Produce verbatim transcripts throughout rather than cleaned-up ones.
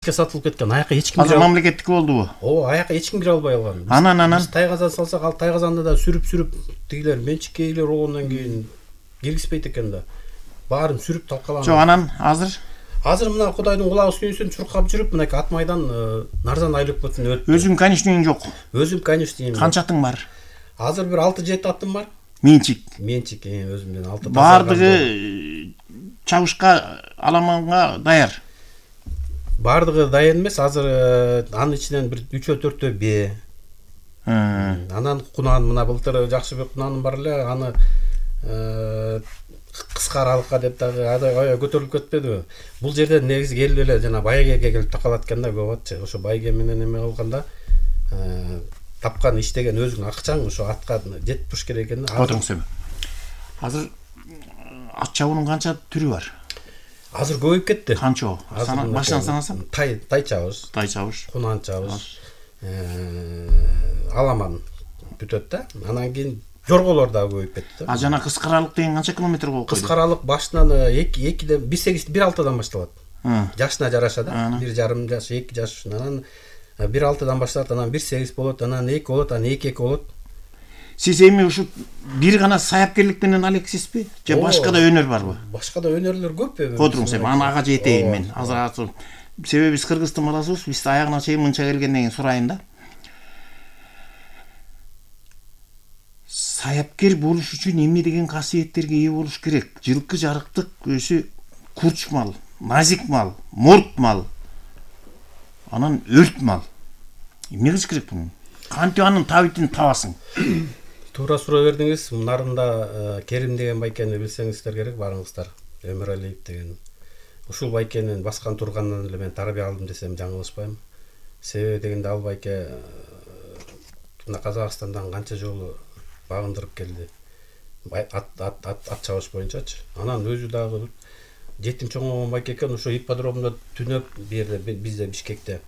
сатылып кеткен. Аяка эч ким азыр мамлекеттик болдубу? Ооба, аяка эч ким кире албай калган. Анан анан биз тайгазан салсак, ал тайгазанды да сүрүп-сүрүп тигилер менчикке ээлер болгондон кийин киргизбейт экен да. Баарын сүрүп талкаланып. Жок, анан азыр Азыр мына Кудайдын кулагы сүйүнсүн чуркап жүрүп, мына ат майдан нарзан айлык бүтүн өттү. өзүң конечныйың жок. Өзүм конечныйым. Канча атың бар? Азыр бир алты жети атым бар. Менчик. Менчик өзүмдөн алты. Бардыгы чабышка, аламанга даяр. Бардыгы дайын эмес, азыр анын ичинен бир үчөө төртөө б. Анан кунан мына былтыр Жакшыбек кунаным бар эле, аны кыска аралыкка деп дагы аябай көтөрүлүп кетпедиби? Бул жерде негизи келип эле жана байгеге келип такалат экен да, көп атчы. Ошо байге менен эме кылганда тапкан иштеген өзүң акчаң ошо атка жетип туруш керек экен. Отуруңуз эми. Азыр ат чабуунун канча түрү бар? Азыр көбөйүп кетти. Канча? Башынан санасам? Тай, тай чабыш. Тай чабыш. Кунан чабыш. Аламан бүтөт да. Анан кийин жорголор дагы көбөйүп кетти. А жана кыска аралык деген канча километр болуп койду? Кыска аралык башынан эки экиден бир сегиз бир алтыдан башталат. Жашына жараша да. бир жарым жаш, эки жаш, анан бир алтыдан башталат, анан бир сегиз болот, анан эки болот, анан эки эки болот. Сиз эми ушу бир гана саяпкерлик менен алексизби? Же башка да өнөр барбы? Башка да өнөрлөр көп эми. Отуруңуз эми, аны ага жетейин мен. Азыр себеби биз кыргыздын баласыбыз, биз аягына чейин мынча келгенден кийин сурайын да. Саяпкер болуш үчүн эмне деген касиеттерге ээ болуш керек? Жылкы жарыктык өзү курч мал, назик мал, морт мал, анан өрт мал. Эмне кылыш керек буну? Кантип анын табитин табасың? Туура суроо бердиңиз. Нарында Керим деген байкени билсеңиздер керек, барыңыздар. Өмүралиев деген. Ушул байкенин баскан тургандан эле мен тарбия алдым десем жаңылышпайм. Себеби дегенде ал байке мына Казакстандан канча жолу багындырып келди. Ат ат ат чабыш боюнчачы. Анан өзү дагы жетим чоңойгон байке экен. Ошо ипподромдо түнөп бу жерде бизде Бишкекте.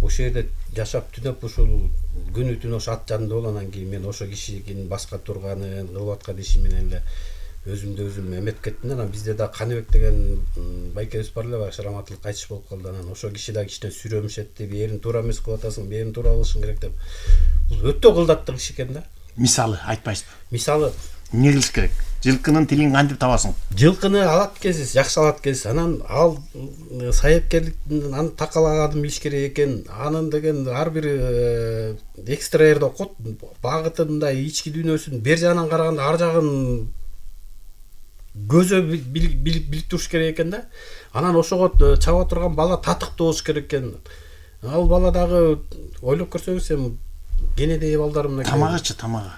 Ошол жерде жашап түнөп ушул күнү түнү ошо ат жанында болуп, анан кийин мен ошо кишинин баска турганын кылып аткан иши менен эле өзүмдү өзүм эметип кеттим. Анан бизде да Каныбек деген байкебиз бар эле, баягы Шараматылык кайтыш болуп калды. Анан ошо киши да кичине сүрөмүшетти, бээрин туура эмес кылып атасың, бээрин туура кылышың керек деп. Бул өтө кылдаттык иш экен да. Мисалы айтпайсызбы? Мисалы эмне кылыш керек? Жылкынын тилин кантип табасың? Жылкыны алат экенсиз, жакшы алат экенсиз. Анан ал саяпкерликтин аны такалаганын билиш керек экен. Анын деген ар бир экстраерде окут, багытында ички дүйнөсүн бер жагынан караганда ар жагын көзө билип туруш керек экен да. Анан ошого чаба турган бала татыктуу болуш керек экен. Ал бала дагы ойлоп көрсөңүз эми кенедей балдар мына тамагычы, тамагы.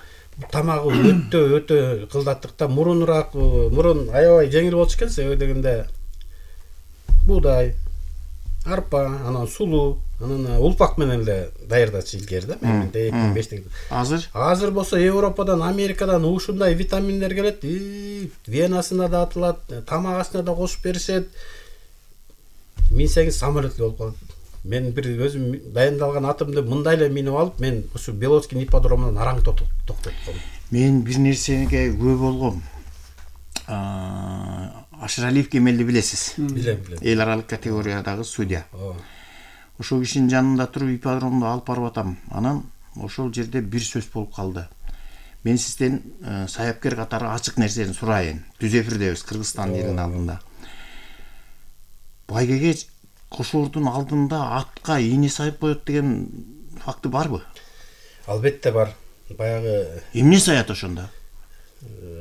Тамагы өтө өтө кылдаттыкта, мурунураак, мурун аябай жеңил болчу экен, себеби дегенде буудай, арпа, анан сулуу, анан улпак менен эле даярдачы илгери да, мен эки миң беште. Азыр? Азыр болсо Европадан, Америкадан ушундай витаминдер келет, венасына да атылат, тамагасына да кошуп беришет. Минсеңиз самолет болуп калат. Мен бир өзүм дайындалган атымды мындай эле минип алып, мен ушу Белоцкий ипподромунан араң токтоттум. Мен бир нерсеге күбө болгом. Ашыралиев Кемелди билесиз? Билем, билем. Эл аралык категориядагы судья. Ошол кишинин жанында туруп ипподромду алып барып атам. Анан ошол жерде бир сөз болуп калды. Мен сизден саяпкер катары ачык нерсени сурайын. Түз эфирдебиз Кыргызстан элинин алдында. Байгеге кошордун алдында атка ийне сайып коет деген факты барбы? Албетте бар. Баягы эмне саят ошондо?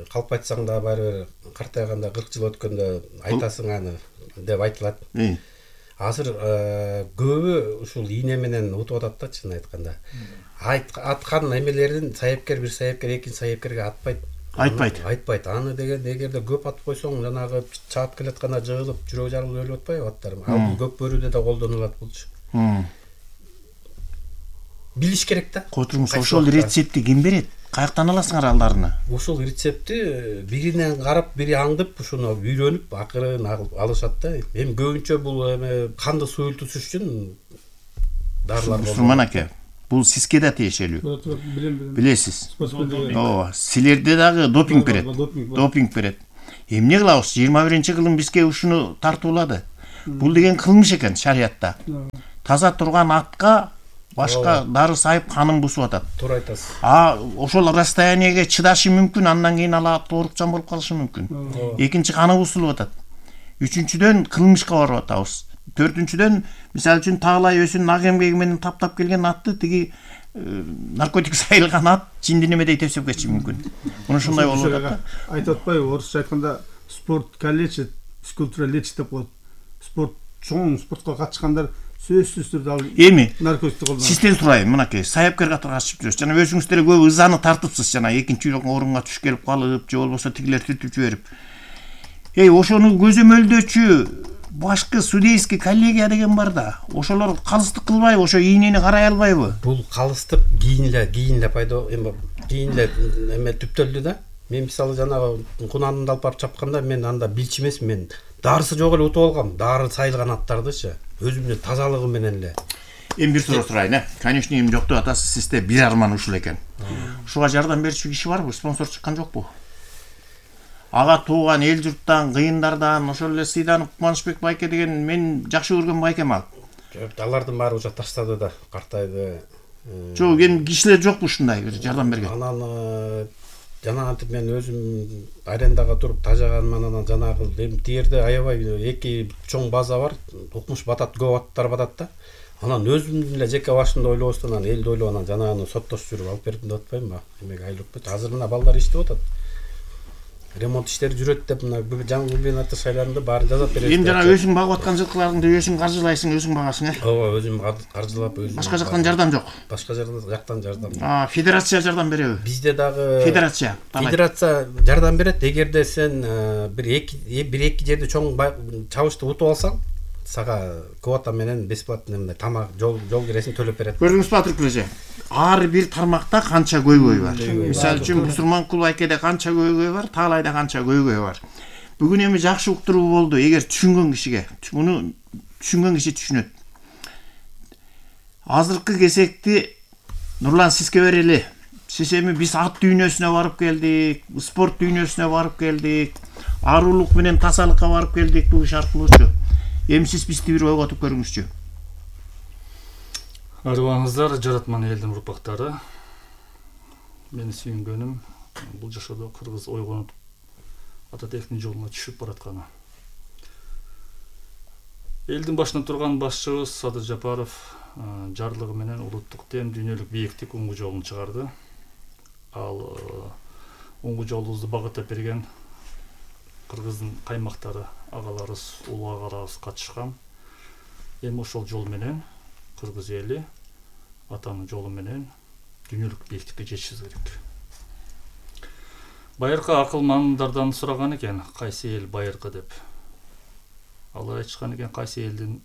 Калп айтсаң да баары бир картайганда кырк жыл өткөндө айтасың аны деп айтылат. Азыр көбү ушул ийне менен утуп атат да, чын айтканда. Аткан эмелердин саяпкер бир саяпкер экинчи саяпкерге атпайт. Айтпайт. Айтпайт. Аны деген эгерде көп атып койсоң, жанагы чаап келатканда жыгылып, жүрөк жарылып өлүп атпайбы аттар? Ал бул көк бөрүдө да колдонулат булчу. Билиш керек да. Котуруңуз, ошол рецептти ким берет? Каяктан аласыңар алдарына? Ушул рецептти биринен карап, бири аңдып, ушуну үйрөнүп, акырын алышат да. Эми көбүнчө бул эме канды суюлтуш үчүн дарылар. Мусулман аке, бул сизге да тиешелүү. Билесиз. Ооба, силерде дагы допинг берет. Допинг берет. Эмне кылабыз? жыйырма биринчи кылым бизге ушуну тартуулады. Бул деген кылмыш экен шариятта. Таза турган атка башка дары сайып канын бусуп атат. Туура айтасыз. А ошол расстояниеге чыдашы мүмкүн, андан кийин ал ат оорукчан болуп калышы мүмкүн. Экинчи каны бусулуп атат. Үчүнчүдөн кылмышка барып атабыз. Төртүнчүдөн мисалы үчүн таалай өзүнүн ак эмгеги менен таптап келген атты тиги наркотик сайылган ат жинди немедей тепсеп кетиши мүмкүн. Муну ушундай болуп атат. Айтып атпайбы, орусча айтканда спорт калечит, физкультура лечит деп коет. Спорт чоң спортко катышкандар сөзсүз түрдө ал эми наркотикти колдонот. Сизден сурайын, мынакей саяпкер катары катышып жүрөсүз. Жана өзүңүз деле көп ызаны тартыпсыз, жана экинчи орунга түшүп келип калып, же болбосо тигилер түртүп жиберип. Эй, ошону көзөмөлдөөчү башкы судейский коллегия деген бар да. Ошолор калыстык кылбайбы, ошо ийнени карай албайбы? Бул калыстык кийинле кийинле пайда эми кийинле эме түптөлдү да. Мен мисалы жанагы кунанымды алып барып чапканда мен анда билчү эмесмин, мен дарысы жок эле утуп алгам, дары сайылган аттардычы. Өзүмдүн тазалыгы менен эле. Эми бир суроо сурайын, э. Конечно, эми жоктоп атасыз, сизде бир арман ушул экен. Ушуга жардам берүүчү киши барбы? Спонсор чыккан жокпу? Ага тууган эл журттан, кыйындардан, ошол эле Сыйданов Кубанычбек байке деген мен жакшы көргөн байкем ал. Жок, алардын баары уже таштады да, картайды. Жок, эми кишилер жокпу ушундай бир жардам берген? Анан жанагынтип мен өзүм арендага туруп тажаганым, анан жанагы эми тиерде аябай эки чоң база бар, укмуш батат, көп аттар батат да. Анан өзүмдүн эле жеке башымда ойлобостон анан элди ойлоп анан жанаганы соттошуп жүрүп алып бердим деп атпаймынбы? Эмеге айлып азыр мына балдар иштеп атат. Ремонт иштери жүрөт деп мына жаңы губернатор шайланды, баарын жасап берет. Эми жана өзүң багып аткан жылкыларыңды өзүң каржылайсың, өзүң багасың, э? Ооба, өзүм каржылап өзүм. Башка жактан жардам жок. Башка жактан жардам. А, федерация жардам береби? Бизде дагы Федерация. Федерация жардам берет. Эгерде сен бир эки бир эки жерде чоң чабышты утуп алсаң, сага квота менен бесплатно эмне тамак, жол жол киресин төлөп берет. Көрдүңүзбү Батыр Күлөжө? Ар бир тармакта канча көйгөй бар. Мисалы үчүн Мусурманкул байкеде канча көйгөй бар, Таалайда канча көйгөй бар. Бүгүн эми жакшы уктуруу болду. Эгер түшүнгөн кишиге, муну түшүнгөн киши түшүнөт. Азыркы кезекти Нурлан сизге берели. Сиз эми биз ат дүйнөсүнө барып келдик, спорт дүйнөсүнө барып келдик, арулук менен тазалыкка барып келдик бул иш аркылуучу. Эми сиз бизди бир ойготуп көрүңүзчү. Арыбаңыздар, жаратман элдин урпактары. Мени сүйүнгөнүм бул жашоодо кыргыз ойгонуп Ататектин жолуна түшүп баратканы. Элдин башында турган башчыбыз Садыр Жапаров жарлыгы менен улуттук тем дүйнөлүк бийиктик уңгу жолун чыгарды. Ал уңгу жолубузду багыттап берген кыргыздын каймактары, агаларыбыз, улуу агаларыбыз катышкан. Эми ошол жол менен кыргыз эли атанын жолу менен дүйнөлүк бийиктикке жетишибиз керек. Байыркы акылмандардан сураган экен, кайсы эл байыркы деп. Алар айтышкан экен, кайсы элдин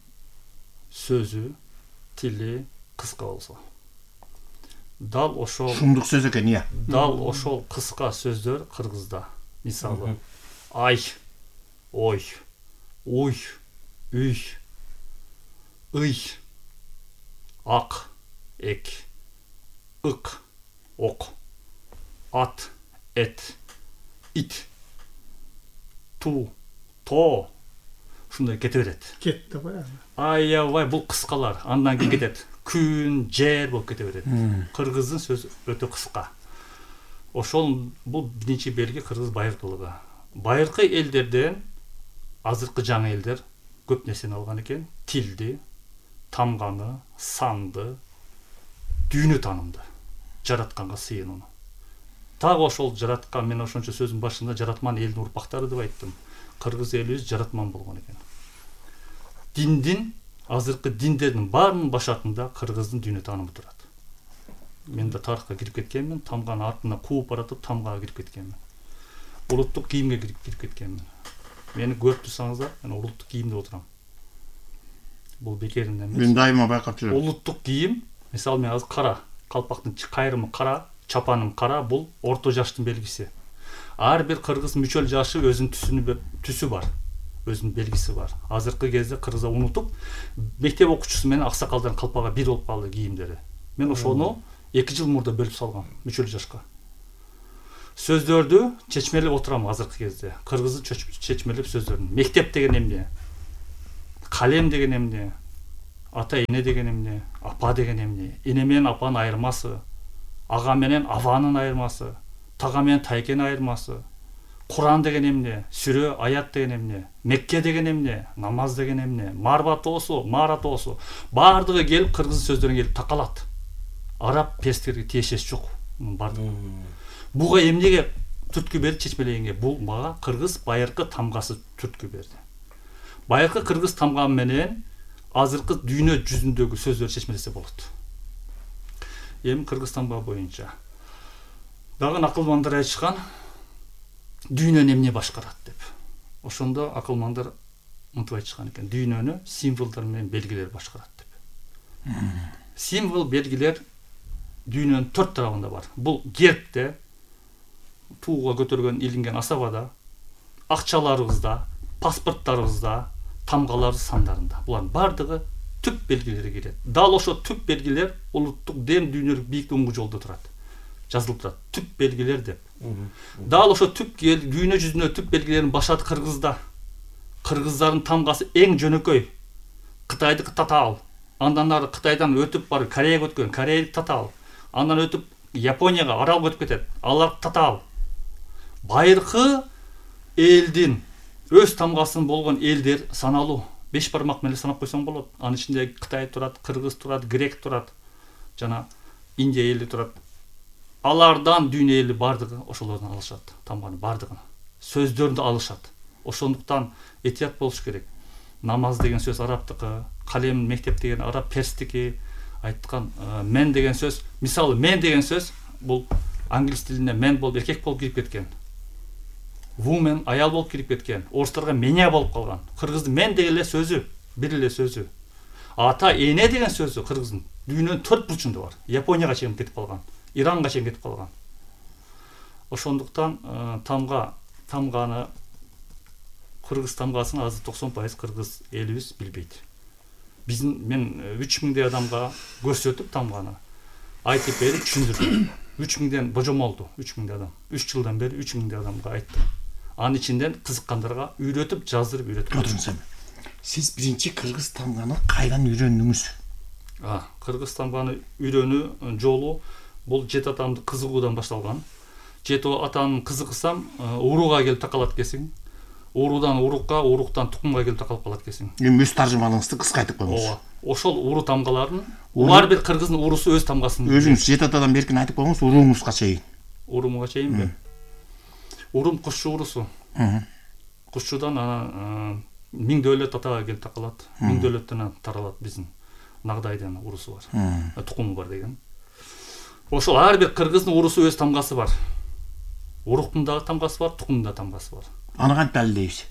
сөзү, тили кыска болсо. Дал ошол шумдук сөз экен, ия. Дал ошол кыска сөздөр кыргызда. Мисалы, ай, ой, уй, үй, ый, ак, эк, ык, ок, ат, эт, ит, ту, то, ушундай кете берет. Кетти го. Аябай бул кыскалар, андан кийин кетет. Күн, жер болуп кете берет. Кыргыздын сөзү өтө кыска. Ошол бул биринчи белги кыргыз байыркылыгы. Байыркы элдерден азыркы жаңы элдер көп нерсени алган экен. Тилди, тамганы, санды, дүйнө таанымды, жаратканга сыйынууну. Так ошол жараткан, мен ошончо сөзүн башында жаратман элдин урпактары деп айттым. Кыргыз элибиз жаратман болгон экен. Диндин, азыркы диндердин баарынын башатында кыргыздын дүйнө таанымы турат. Мен да тарыхка кирип кеткенмин, тамганы артына кууп баратып тамгага кирип кеткенмин. Улуттук кийимге кирип кеткенмин. Мени көрүп турсаңыздар, мен улуттук кийимде отурам. Бул бекеринен эмес. Мен дайыма байкап жүрөм. Улуттук кийим, мисалы мен азыр кара, калпактын кайрымы кара, чапаным кара, бул орто жаштын белгиси. Ар бир кыргыз мүчөл жашы өзүнүн түсүнү түсү бар, өзүнүн белгиси бар. Азыркы кезде кыргыздар унутуп, мектеп окуучусу менен аксакалдардын калпагы бир болуп калды кийимдери. Мен ошону эки жыл мурда бөлүп салгам мүчөл жашка. Сөздөрдү чечмелеп отурам азыркы кезде. Кыргыздын чечмелеп сөздөрүн. Мектеп деген эмне? калем деген эмне, ата эне деген эмне, апа деген эмне, эне менен апанын айырмасы, ага менен абанын айырмасы, тага менен тайкенин айырмасы, Куран деген эмне, сүрө, аят деген эмне, Мекке деген эмне, намаз деген эмне, марба тоосу, мара тоосу, баардыгы келип кыргыз сөздөрүнө келип такалат. Араб перстерге тиешеси жок. Баардыгы. Буга эмнеге түрткү берди чечмелегенге? Бул мага кыргыз байыркы тамгасы түрткү берди. Байыркы кыргыз тамгасы менен азыркы дүйнө жүзүндөгү сөздөрдү чечмелесе болот. Эми кыргыз тамга боюнча дагы акылмандар айтышкан, дүйнөнү эмне башкарат деп. Ошондо акылмандар мынтип айтышкан экен: дүйнөнү символдор менен белгилер башкарат деп. Символ, белгилер дүйнөнүн төрт тарабында бар. Бул гербте, тууга көтөргөн илинген асабада, акчаларыбызда, паспорттарыбызда, тамгалар сандарында. Булардын бардыгы түп белгилери келет. Дал ошо түп белгилер улуттук дем дүйнөлүк бийик оңгу жолдо турат. Жазылып турат. Түп белгилер деп. Дал ошо түп дүйнө жүзүнө түп белгилерин башат Кыргызда. Кыргыздардын тамгасы эң жөнөкөй. Кытайдыкы татаал. Андан ары Кытайдан өтүп барып Кореяга өткөн, Кореялык татаал. Андан өтүп Японияга, Аралга өтүп кетет. Алар татаал. Байыркы элдин өз тамгасын болгон элдер саналуу. Беш бармак менен санап койсоң болот. Анын ичинде Кытай турат, Кыргыз турат, Грек турат, жана Индия эли турат. Алардан дүйнө эли бардыгы ошолордон алышат, тамганын бардыгын. Сөздөрүндү алышат. Ошондуктан этият болуш керек. Намаз деген сөз арабтыкы, калем, мектеп деген араб, перстики. Айткан мен деген сөз, мисалы мен деген сөз бул англис тилине мен болуп эркек болуп кирип кеткен. Woman аял болуп кирип кеткен. Орустарга меня болуп калган. Кыргыздын мен деген эле сөзү, бир эле сөзү. Ата эне деген сөзү кыргыздын дүйнөнүн төрт бурчунда бар. Японияга чейин кетип калган, Иранга чейин кетип калган. Ошондуктан тамга, тамганы кыргыз тамгасын азыр токсон пайыз кыргыз элибиз билбейт. Биздин мен үч миңдей адамга көрсөтүп тамганы айтып берип түшүндүрдүм. үч миңден божомолду, үч миңдей адам. үч жылдан бери үч миңдей адамга айттым. Анын ичинден кызыккандарга үйрөтүп, жаздырып үйрөтүп. Отуруңуз эми. Сиз биринчи кыргыз тамганы кайдан үйрөндүңүз? А, кыргыз тамганы үйрөнүү жолу бул жет атамды кызыгуудан башталган. Жет атанын кызыксам, урууга келип такалат экенсиң. Уруудан урукка, уруктан тукумга келип такалып калат экенсиң. Эми өз таржымалыңызды кыска айтып коюңуз. Ооба. Ошол уруу тамгаларын, ар бир кыргыздын уруусу өз тамгасын. Өзүңүз жет атадан беркин айтып коюңуз, урууңузга чейин. Урумга чейинби? Урум кушчу уруусу. Кушчудан анан миң дөөлөт атага келип такалат. Миң дөөлөттөн таралат биздин Нагдайдын уруусу бар. Тукуму бар деген. Ошол ар бир кыргыздын уруусу өз тамгасы бар. Уруктун дагы тамгасы бар, тукумдун да тамгасы бар. Аны кантип далилдейбиз?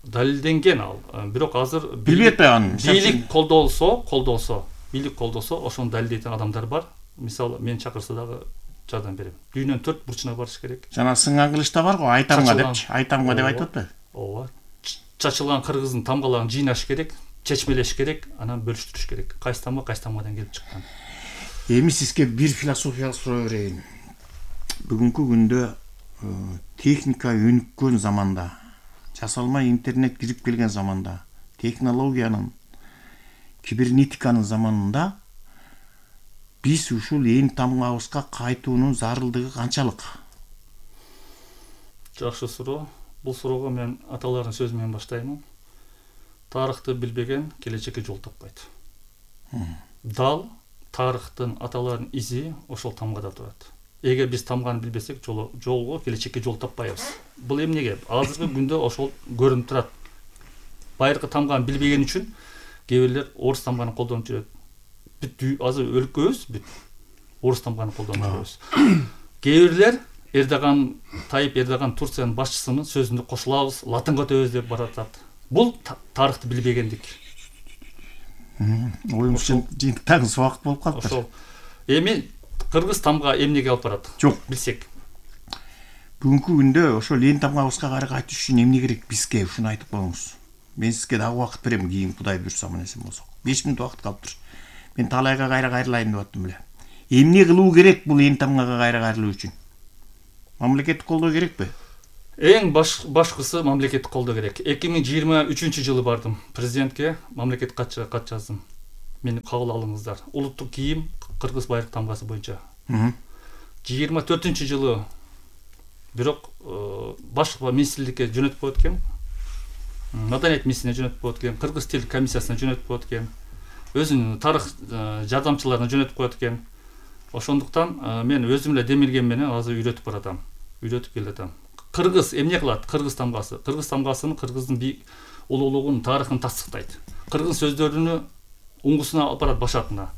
Далилденген ал. Бирок азыр билбей атпайбы? Бийлик колдолсо, колдолсо, бийлик колдосо, ошону далилдейтин адамдар бар. Мисалы, мен чакырса дагы жардам берем. Дүйнөнүн төрт бурчуна барыш керек. Жана сыңган кылычта бар го, айтамга депчи, айтамга деп айтып атпайбы? Ооба. Чачылган кыргыздын тамгаларын жыйнаш керек, чечмелеш керек, анан бөлүштүрүш керек. Кайсы тамга кайсы тамгадан келип чыккан. Эми сизге бир философиялык суроо берейин. Бүгүнкү күндө техника өнүккөн заманда, жасалмай интернет кирип келген заманда, технологиянын, кибернетиканын заманында биз ушул эң тамгабызга кайтуунун зарылдыгы канчалык? Жакшы суроо. Бул суроого мен аталардын сөзү менен баштаймын. Тарыхты билбеген келечекке жол таппайт. Дал тарыхтын, аталардын изи ошол тамгада турат. Эгер биз тамганы билбесек, жолго, келечекке жол таппайбыз. Бул эмнеге? Азыркы күндө ошол көрүнүп турат. Байыркы тамганы билбеген үчүн кээ бирлер орус тамганы колдонуп жүрөт. Бүт азыр өлкөбүз бүт орус тамганы колдонуп жүрөбүз. Кээ бирлер Эрдоган, Тайып Эрдоган Турциянын башчысынын сөзүндө кошулабыз, латынга өтөбүз деп баратат. Бул тарыхты билбегендик. Оюңузча жыйынтыктагы убакыт болуп калыптыр. Ошол. Эми кыргыз тамга эмнеге алып барат? Жок, билсек. Бүгүнкү күндө ошол эң тамгабызга кайра кайтыш үчүн эмне керек бизге, ушуну айтып коюңуз. Мен сизге дагы убакыт берем, кийин Кудай буйрса менесин болсок. беш мүнөт убакыт калыптыр. Мен талайга кайра кайрылайын деп аттым эле. Эмне кылуу керек бул эң тамгага кайра кайрылуу үчүн? Мамлекеттик колдоо керекпи? Эң баш башкысы мамлекеттик колдоо керек. эки миң жыйырма үчүнчү жылы бардым президентке, мамлекеттик кат кат жаздым. Мени кабыл алыңыздар. Улуттук кийим кыргыз байыркы тамгасы боюнча. жыйырма төртүнчү жылы бирок башкы министрликке жөнөтүп коет экен. Маданият министрine жөнөтүп коет экен, кыргыз тил комиссиясына жөнөтүп коет экен. Өзүнүн тарых жардамчыларына жөнөтүп коет экен. Ошондуктан мен өзүм эле демилген менен азыр үйрөтүп баратам. Үйрөтүп келатам. Кыргыз эмне кылат? Кыргыз тамгасы. Кыргыз тамгасынын кыргыздын бийик улуулугун, тарыхын тастыктайт. Кыргыз сөздөрүнү уңгусуна алып барат башатына.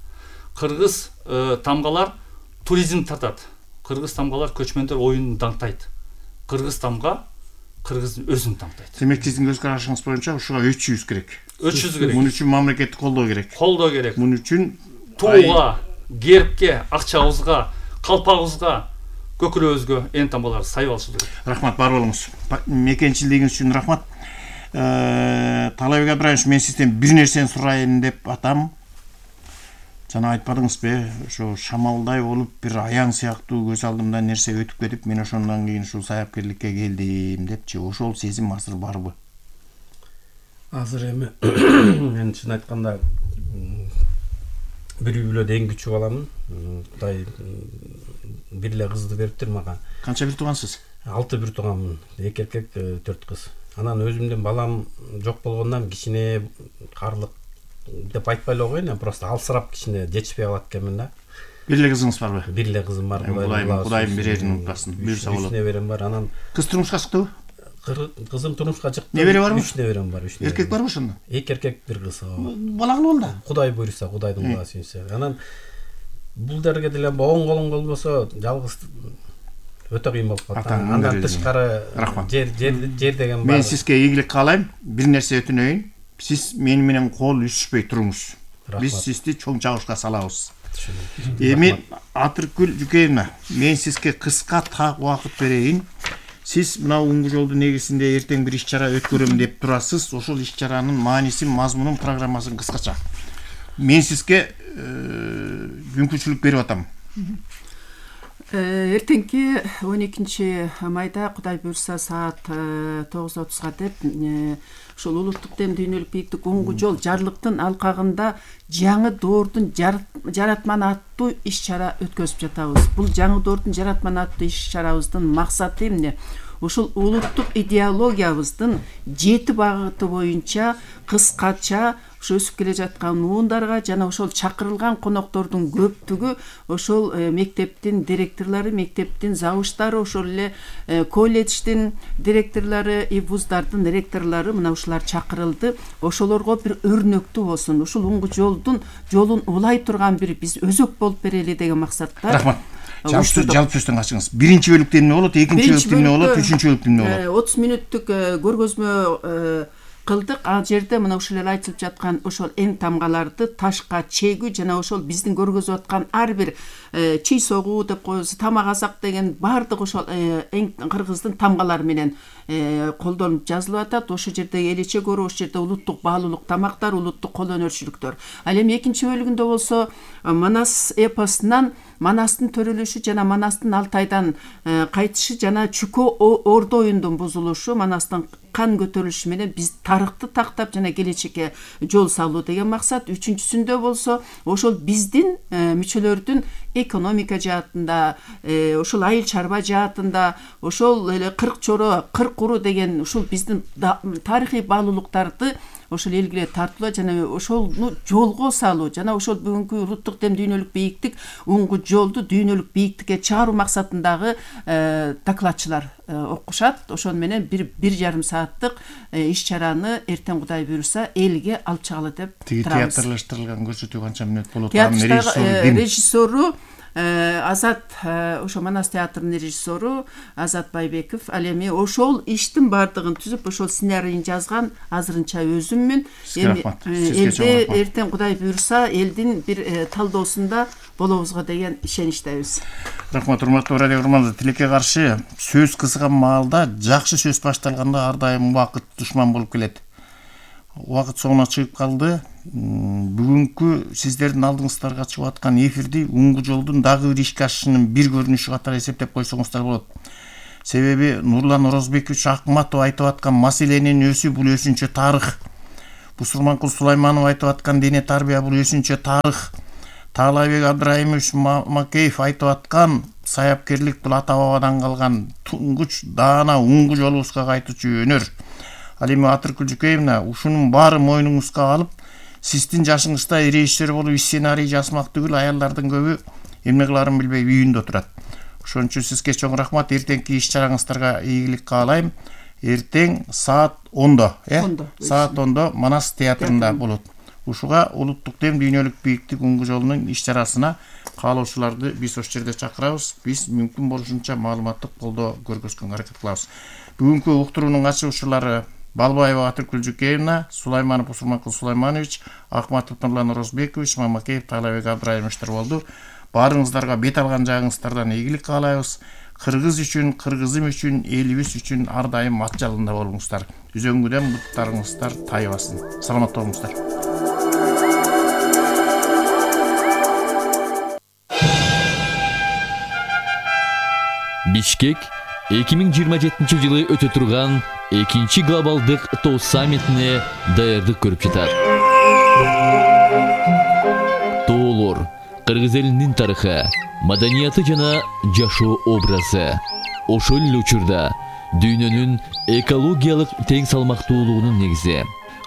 Кыргыз тамгалар туризм тартат. Кыргыз тамгалар көчмөндөр оюнун даңктайт. Кыргыз тамга кыргыздын өзүн таңдайт. Демек сиздин көз карашыңыз боюнча ушуга өчүбүз керек. Өчүбүз керек. Муну үчүн мамлекеттик колдоо керек. Колдоо керек. Муну үчүн тууга, гербке, акчабызга, калпагыбызга, көкүрөбүзгө эн тамгалар сайып алышы керек. Рахмат, бар болуңуз. Мекенчилигиңиз үчүн рахмат. Талайбек Абдраимович, мен сизден бир нерсени сурайын деп атам. Жана айтпадыңызбы, ошо шамалдай болуп бир аяң сыяктуу көз алдымдан нерсе өтүп кетип, мен ошондон кийин ушул саяпкерликке келдим депчи. Ошол сезим азыр барбы? Азыр эми мен чын айтканда бир үй бүлөдө эң күчү баламын. Кудай бир эле кызды бериптир мага. Канча бир туугансыз? алты бир тууганмын. эки эркек, төрт кыз. Анан өзүмдүн балам жок болгондон кичине карлык деп айтпай эле коеюн, просто алсырап кичине жетишпей калат экенмин да. Бир эле кызыңыз барбы? Бир эле кызым бар. Кудайым, Кудайым берерин унутпасын. Буйрса болот. Үч неберем бар. Анан кыз турмушка чыктыбы? Кызым турмушка чыкты. Небере барбы? Үч неберем бар, үч неберем. Эркек барбы ошондо? Эки эркек, бир кыз. Балагыл болду. Кудай буйрса, Кудайдын буйругуна сүйүнсө. Анан бул дерге деле оң колуң болбосо жалгыз өтө кыйын болуп калат. Андан тышкары жер жер деген бар. Мен сизге ийгилик каалайм. Бир нерсе өтүнөйүн. Сиз мени менен кол үшүшпөй туруңуз. Биз сизди чоң чагышка салабыз. Эми Атыркүл Жүкеевна, мен сизге кыска так убакыт берейин. Сиз мына Уңгу жолду негизинде эртең бир иш-чара өткөрөм деп турасыз. Ошол иш-чаранын маанисин, мазмунун, программасын кыскача. Мен сизге мүмкүнчүлүк берип атам. Эртеңки он экинчи майда Кудай буйрса саат тогуз отузга деп ушул улуттук дем дүйнөлүк бийиктик Уңгу жол жарлыктын алкагында жаңы доордун жаратман аттуу иш-чара өткөзүп жатабыз. Бул жаңы доордун жаратман аттуу иш-чарабыздын максаты эмне? Ушул улуттук идеологиябыздын жети багыты боюнча кыскача ошо өсүп келе жаткан уундарга жана ошол чакырылган коноктордун көптүгү ошол мектептин директорлору, мектептин завуштары, ошол эле колледждин директорлору, и вуздардын ректорлору мына ушулар чакырылды. Ошолорго бир өрнөктүү болсун. Ушул Уңгу жолдун жолун улай турган бир биз өзөк болуп берели деген максатта. Рахмат. Жалпы сөздөн качыңыз. Биринчи бөлүктө эмне болот, экинчи бөлүктө эмне болот, үчүнчү бөлүктө эмне болот? отуз мүнөттүк көргөзмө кылдык. Ал жерде мына ушул эле айтылып жаткан ошол эң тамгаларды ташка чегүү жана ошол биздин көргөзүп аткан ар бир чий согуу деп коебуз, тамак азак деген баардык ошол эң кыргыздын тамгалары менен колдонуп жазылып атат. Ошол жерде элече көрүү, ошол жерде улуттук баалуулук тамактар, улуттук кол өнөрчүлүктөр. Ал эми экинчи бөлүгүндө болсо Манас эпосунан Манастын төрөлүшү жана Манастын Алтайдан кайтышы жана Чүкө Ордо оюндун бузулушу, Манастын кан көтөрүлүшү менен биз тарыхты тактап жана келечекке жол салуу деген максат. Үчүнчүсүндө болсо ошол биздин мүчөлөрдүн экономика жаатында, ошол айыл чарба жаатында, ошол эле кырк чоро, кырк уру деген ушул биздин тарыхый баалуулуктарды ошол элгиле тартуулоо жана ошону жолго салуу жана ошол бүгүнкү улуттук дем дүйнөлүк бийиктик Уңгу жолду дүйнөлүк бийиктикке чыгаруу максатындагы докладчылар окушат. Ошону менен бир бир жарым сааттык иш-чараны эртең Кудай буйрса элге алып чыгалы деп турабыз. Театрлаштырылган көрсөтүү канча мүнөт болот? Режиссеру Азат, ошо Манас театрынын режиссеру Азат Байбеков. Ал эми ошол иштин бардыгын түзүп, ошол сценарийин жазган азырынча өзүммүн. Эми элде эртең Кудай буйрса элдин бир талдоосунда болобузго деген ишеничтебиз. Рахмат, урматтуу радио көрөрмандар. Тилекке каршы сөз кызган маалда, жакшы сөз башталганда ар дайым убакыт душман болуп келет. Убакыт соңуна чыгып калды. Бүгүнкү сиздердин алдыңыздарга чыгып аткан эфирди Уңгу жолдун дагы бир ишке ашышынын бир көрүнүшү катары эсептеп койсоңуздар болот. Себеби Нурлан Орозбекович Акматов айтып аткан маселенин өзү бул өзүнчө тарых. Бусурманкул Сулайманов айтып аткан дене тарбия бул өзүнчө тарых. Таалайбек Абдрайымович Макеев айтып аткан саяпкерлик бул ата бабадан калган туңгуч даана уңгу жолубузга кайтуучу өнөр. Ал эми Атыркүл Жүкеевна ушунун баары мойнуңузга алып, сиздин жашыңызда режиссер болуп сценарий жазмак түгүл, аялдардын көбү эмне кыларын билбей үйүндө турат. Ошон үчүн сизге чоң рахмат. Эртеңки иш-чараңыздарга ийгилик каалайм. Эртең саат ондо, э? Саат ондо Манас театрында болот. Ушуга улуттук дем дүйнөлүк бийиктик уңгу жолунун иш-чарасына каалоочуларды биз ошол жерде чакырабыз. Биз мүмкүн болушунча маалыматтык колдоо көргөзгөнгө аракет кылабыз. Бүгүнкү уктуруунун ачуучулары Балбаева Атыркүл Жүкеевна, Сулайманов Бусурманкул Сулайманович, Акматов Нурлан Орозбекович, Мамакеев Таалайбек Абдрайымовичтер болду. Баарыңыздарга бет алган жагыңыздардан ийгилик каалайбыз. Кыргыз үчүн, кыргызым үчүн, элибиз үчүн ар дайым ат жалында болуңуздар. Үзөңгүдөн буттарыңыздар тайбасын. Саламатта болуңуздар. Бишкек эки миң жыйырма жетинчи жылы өтө турган экинчи глобалдык тоо саммитине даярдык көрүп жатат. Тоолор кыргыз элинин тарыхы, маданияты жана жашоо образы. Ошол эле учурда дүйнөнүн экологиялык тең салмактуулугунун негизи.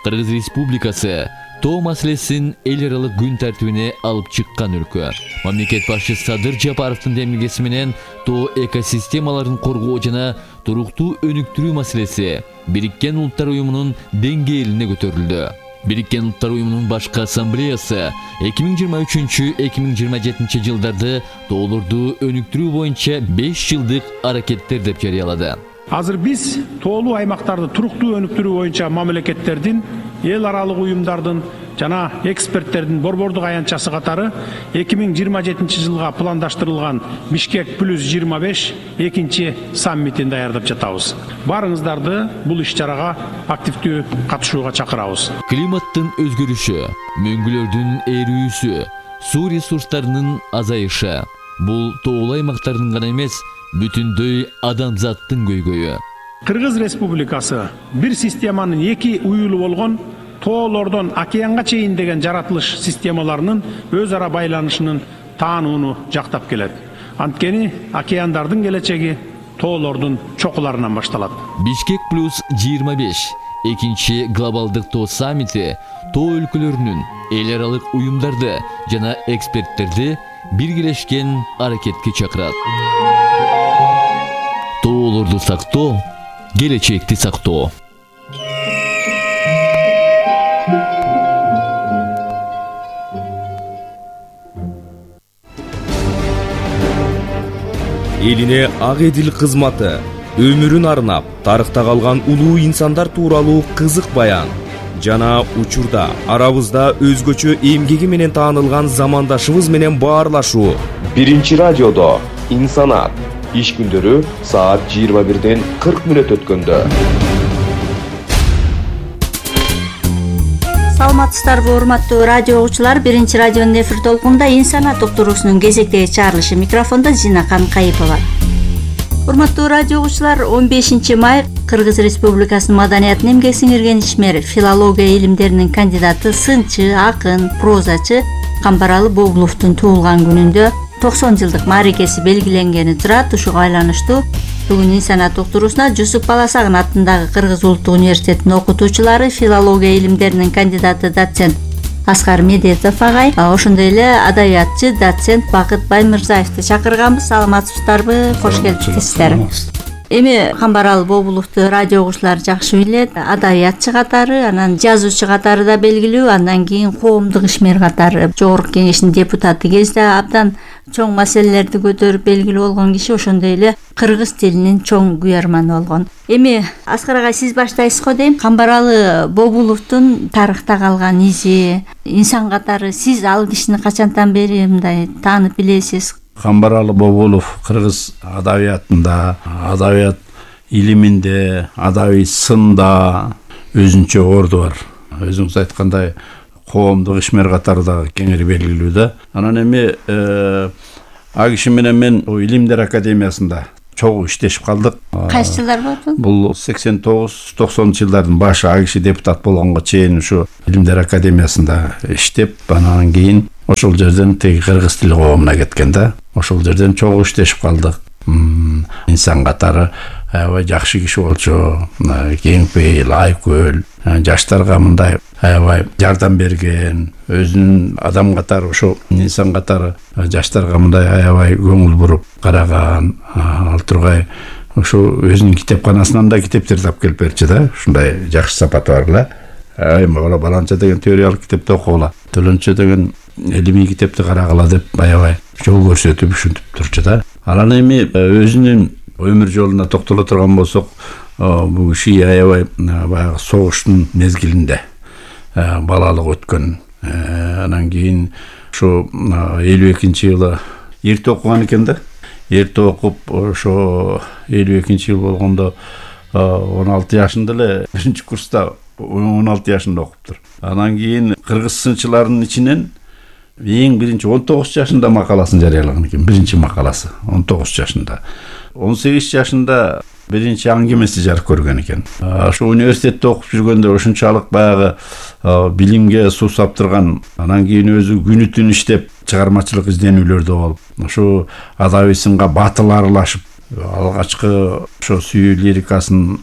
Кыргыз Республикасы тоо маселесин эл аралык күн тартибине алып чыккан өлкө. Мамлекет башчысы Садыр Жапаровдун демилгеси менен тоо экосистемаларын коргоо жана туруктуу өнүктүрүү маселеси Бириккен Улуттар Уюмунун деңгээлине көтөрүлдү. Бириккен Улуттар Уюмунун башкы ассамблеясы эки миң жыйырма үчүнчү — эки миң жыйырма жетинчи жылдарды тоолорду өнүктүрүү боюнча беш жылдык аракеттер деп жарыялады. Азыр биз тоолуу аймактарды туруктуу өнүктүрүү боюнча мамлекеттердин, эл аралык уюмдардын жана эксперттердин борбордук аянтчасы катары эки миң жыйырма жетинчи жылга пландаштырылган Бишкек плюс жыйырма беш экинчи саммитин даярдап жатабыз. Баарыңыздарды бул иш-чарага активдүү катышууга чакырабыз. Климаттын өзгөрүшү, мөңгүлөрдүн эрүүсү, суу ресурстарынын азайышы бул тоолуу аймактардын гана эмес, бүтүндөй адамзаттын көйгөйү. Кыргыз Республикасы бир системанын эки уюлу болгон тоолордон океанга чейин деген жаратылыш системаларынын өз ара байланышынын таанууну жактап келет. Анткени океандардын келечеги тоолордун чокуларынан башталат. Бишкек плюс жыйырма беш экинчи глобалдык тоо саммити тоо өлкөлөрүнүн, эл аралык уюмдарды жана эксперттерди биргелешкен аракетке чакырат. Тоолорду сактоо, келечекти сактоо. Элине ак эдил кызматы, өмүрүн арнап, тарыхта калган улуу инсандар тууралуу кызык баян жана учурда арабызда өзгөчө эмгеги менен таанылган замандашыбыз менен баарлашуу. Биринчи радиодо инсанат. Иш күндөрү саат жыйырма бирден кырк мүнөт өткөндө. Саламатсыздарбы, урматтуу радио угуучулар. Биринчи радионун эфир толкунунда инсанат уктуруусунун кезектеги чыгарылышы. Микрофондо Зинакан Кайыпова. Урматтуу радио угуучулар, он бешинчи май Кыргыз Республикасынын маданиятын эмгек сиңирген ишмер, филология илимдеринин кандидаты, сынчы, акын, прозачы Камбаралы Бобуловдун туулган күнүндө токсон жылдык мааракеси белгиленгени турат. Ушуга байланыштуу бүгүн инсанат уктуруусуна Жусуп Баласагын атындагы Кыргыз Улуттук университетинин окутуучулары, филология илимдеринин кандидаты, доцент Аскар Медетов агай, ошондой эле адабиятчы, доцент Бакыт Баймырзаевди чакырганбыз. Саламатсыздарбы? Кош келипсиздер. Эми Камбаралы Бобуловду радио угуучулар жакшы билет. Адабиятчы катары, анан жазуучу катары да белгилүү, андан кийин коомдук ишмер катары Жогорку Кеңештин депутаты кезде абдан чоң маселелерди көтөрүп белгилүү болгон киши, ошондой эле кыргыз тилинин чоң күйөрманы болгон. Эми Аскар агай, сиз баштайсыз го дейм. Камбаралы Бобуловдун тарыхта калган изи, инсан катары сиз ал кишини качантан бери мындай таанып билесиз? Камбаралы Бобулов кыргыз адабиятында, адабият илиминде, адабий сында өзүнчө орду бар. Өзүңүз айткандай, коомдук ишмер катары да кеңири белгилүү да. Анан эми а киши менен мен Илимдер академиясында чогуу иштешип калдык. Кайсы жылдар болду? Бул сексен тогуз токсонунчу жылдардын башы а киши депутат болгонго чейин ушу Илимдер академиясында иштеп, анан кийин ошол жерден теги кыргыз тили коомуна кеткен да. Ошол жерден чогуу иштешип калдык. Инсан катары аябай жакшы киши болчу, кеңпейил, айкөл, жаштарга мындай аябай жардам берген, өзүнүн адам катары, ошо инсан катары жаштарга мындай аябай көңүл буруп караган. Ал тургай ошо өзүнүн китепканасынан да китептерди алып келип берчү да. Ушундай жакшы сапаты бар эле. Ай, мага баланча деген теориялык китепти окугула, төлөнчө деген илимий китепти карагыла деп аябай жол көрсөтүп ушинтип турчу да. Анан эми өзүнүн өмүр жолуна токтоло турган болсок, бул киши аябай баягы согуштун мезгилинде балалык өткөн. Анан кийин ошо элүү экинчи жылы эрте окуган экен да. Эрте окуп, ошо элүү экинчи жыл болгондо он алты жашында эле биринчи курста он алты жашында окуптур. Анан кийин кыргыз сынчыларынын ичинен эң биринчи он тогуз жашында макаласын жарыялаган экен, биринчи макаласы он тогуз жашында. он сегиз жашында биринчи аңгемеси жарык көргөн экен. Ошо университетте окуп жүргөндө ошончалык баягы билимге суусап турган, анан кийин өзү күнү түн иштеп чыгармачылык изденүүлөрдө болуп, ошо адабий сынга батыл аралашып, алгачкы ошо сүйүү лирикасын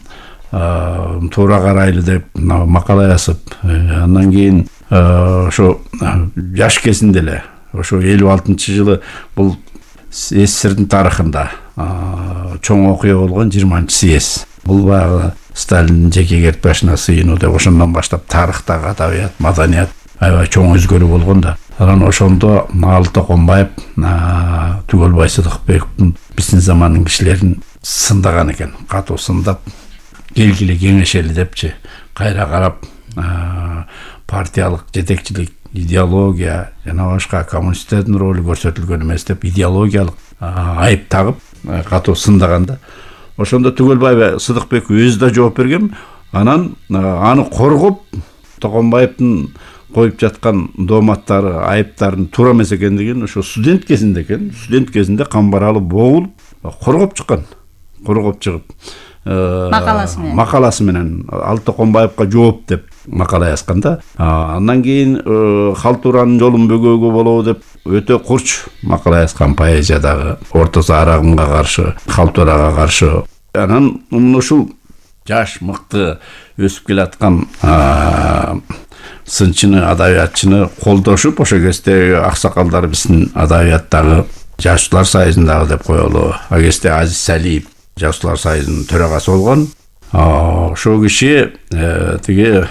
туура карайлы деп макала жазып, андан кийин ошо жаш кезинде эле ошо элүү алтынчы жылы бул СССРдин тарыхында чоң окуя болгон жыйырманчы съезд. Бул баягы Сталиндин жеке кертпешине сыйынуу деп ошондон баштап тарыхтагы адабият, маданият аябай чоң өзгөрүү болгон да. Анан ошондо Наал Токонбаев, Түгөлбай Сыдыкбековдун биздин замандын кишилерин сындаган экен, катуу сындап, келгиле кеңешели депчи, кайра карап партиялык жетекчилик, идеология жана башка коммунисттердин ролу көрсөтүлгөн эмес деп идеологиялык айып тагып катуу сындаган да. Ошондо Түгөлбай Сыдыкбеков өзү да жооп берген. Анан аны коргоп, Токонбаевдин коюп жаткан дооматтары, айыптарын туура эмес экендигин ошо студент кезинде экен, студент кезинде камбаралы богулуп коргоп чыккан. Коргоп чыгып макаласы менен макаласы менен Ал Токонбаевга жооп деп макала жазган да. Андан кийин халтуранын жолун бөгөөгө болобу деп өтө курч макала жазган, поэзиядагы орто зарагымга каршы, халтурага каршы. Анан ушул жаш мыкты өсүп келаткан сынчыны, адабиятчыны колдошуп, ошо кезде аксакалдар биздин адабияттагы Жазуучулар союзундагы деп коелу. А кезде Азиз Салиев Жазуучулар союзунун төрагасы болгон. Ошол киши тиги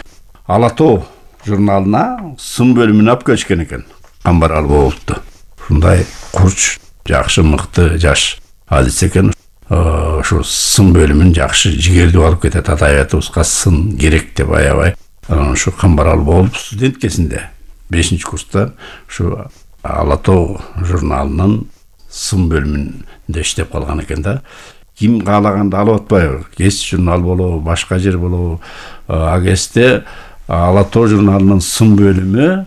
Ала тоо журналына сын бөлүмүнө алып келишкен экен. Камбарал болупту. Ушундай курч, жакшы, мыкты жаш адис экен. Ошо сын бөлүмүн жакшы жигердүү алып кетет, адабиятыбызга сын керек деп аябай. Анан ушу Камбарал болуп студент кезинде бешинчи курста ушу Ала тоо журналынын сын бөлүмүндө иштеп калган экен да. Ким каалаганды алып атпайбы? Кез журнал болобу, башка жер болобу? А кезде Ала тоо журналынын сын бөлүмү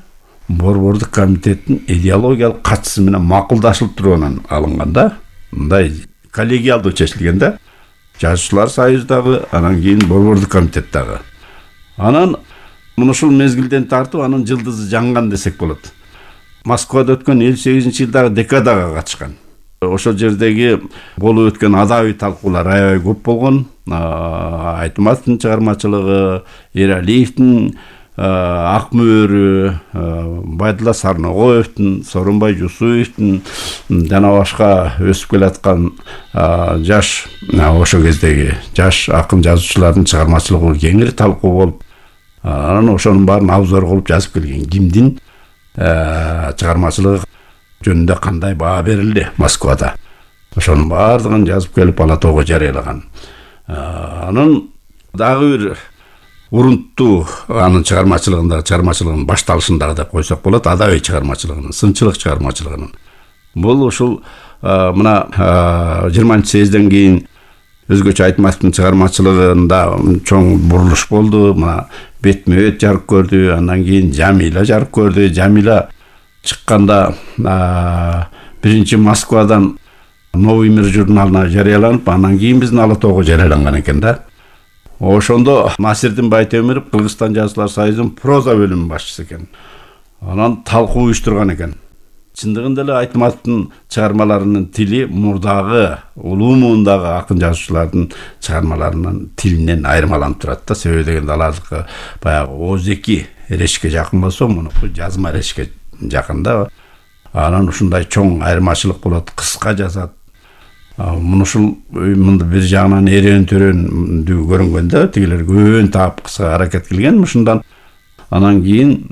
Борбордук комитеттин идеологиялык катчысы менен макулдашылып тургандан алынган да. Мындай коллегиалдуу чечилген да. Жазуучулар союзундагы, анан кийин Борбордук комитеттагы. Анан ушул мезгилден тартып анын жылдызы жанган десек болот. Москвада өткөн элүү сегизинчи жылдагы декадага катышкан. Ошол жердеги болуп өткөн адабий талкуулар аябай көп болгон. Айтматовдун чыгармачылыгы, Эралиевдин Ак мөөрү, Байдулла Сарногоевдун, Сооронбай Жусуевдин жана башка өсүп келаткан жаш ошол кездеги жаш акын жазуучулардын чыгармачылыгы кеңири талкуу болуп, анан ошонун баарын обзор кылып жазып келген. Кимдин чыгармачылыгы жөнүндө кандай баа берилди Москвада. Ошонун баардыгын жазып келип Ала тоого жарыялаган. Анын дагы бир урунттуу анын чыгармачылыгындагы чыгармачылыгынын башталышындагы деп койсок болот, адабий чыгармачылыгынын, сынчылык чыгармачылыгынын. Бул ушул мына жыйырманчы съезден кийин өзгөчө Айтматовдун чыгармачылыгында чоң бурулуш болду. Мына бетме бет жарык көрдү, андан кийин Жамила жарык көрдү. Жамила чыкканда биринчи Москвадан Новый мир журналына жарыяланып, анан кийин биздин Ала тоого жарыяланган экен да. Ошондо Насирдин Байтемиров Кыргызстан жазуулар союзунун проза бөлүмүнүн башчысы экен. Анан талкуу уюштурган экен. Чындыгында эле Айтматовдун чыгармаларынын тили мурдагы улуу муундагы акын жазуучулардын чыгармаларынын тилинен айырмаланып турат да. Себеби дегенде алардыкы баягы ооздеки эрешикке жакын болсо, мунуку жазма эрешикке жакын да. Анан ушундай чоң айырмачылык болот, кыска жазат. Муну ушул мында бир жагынан эрен төрөндүү көрүнгөндө, тигилер көбөн таап кыска аракет кылган ушундан. Анан кийин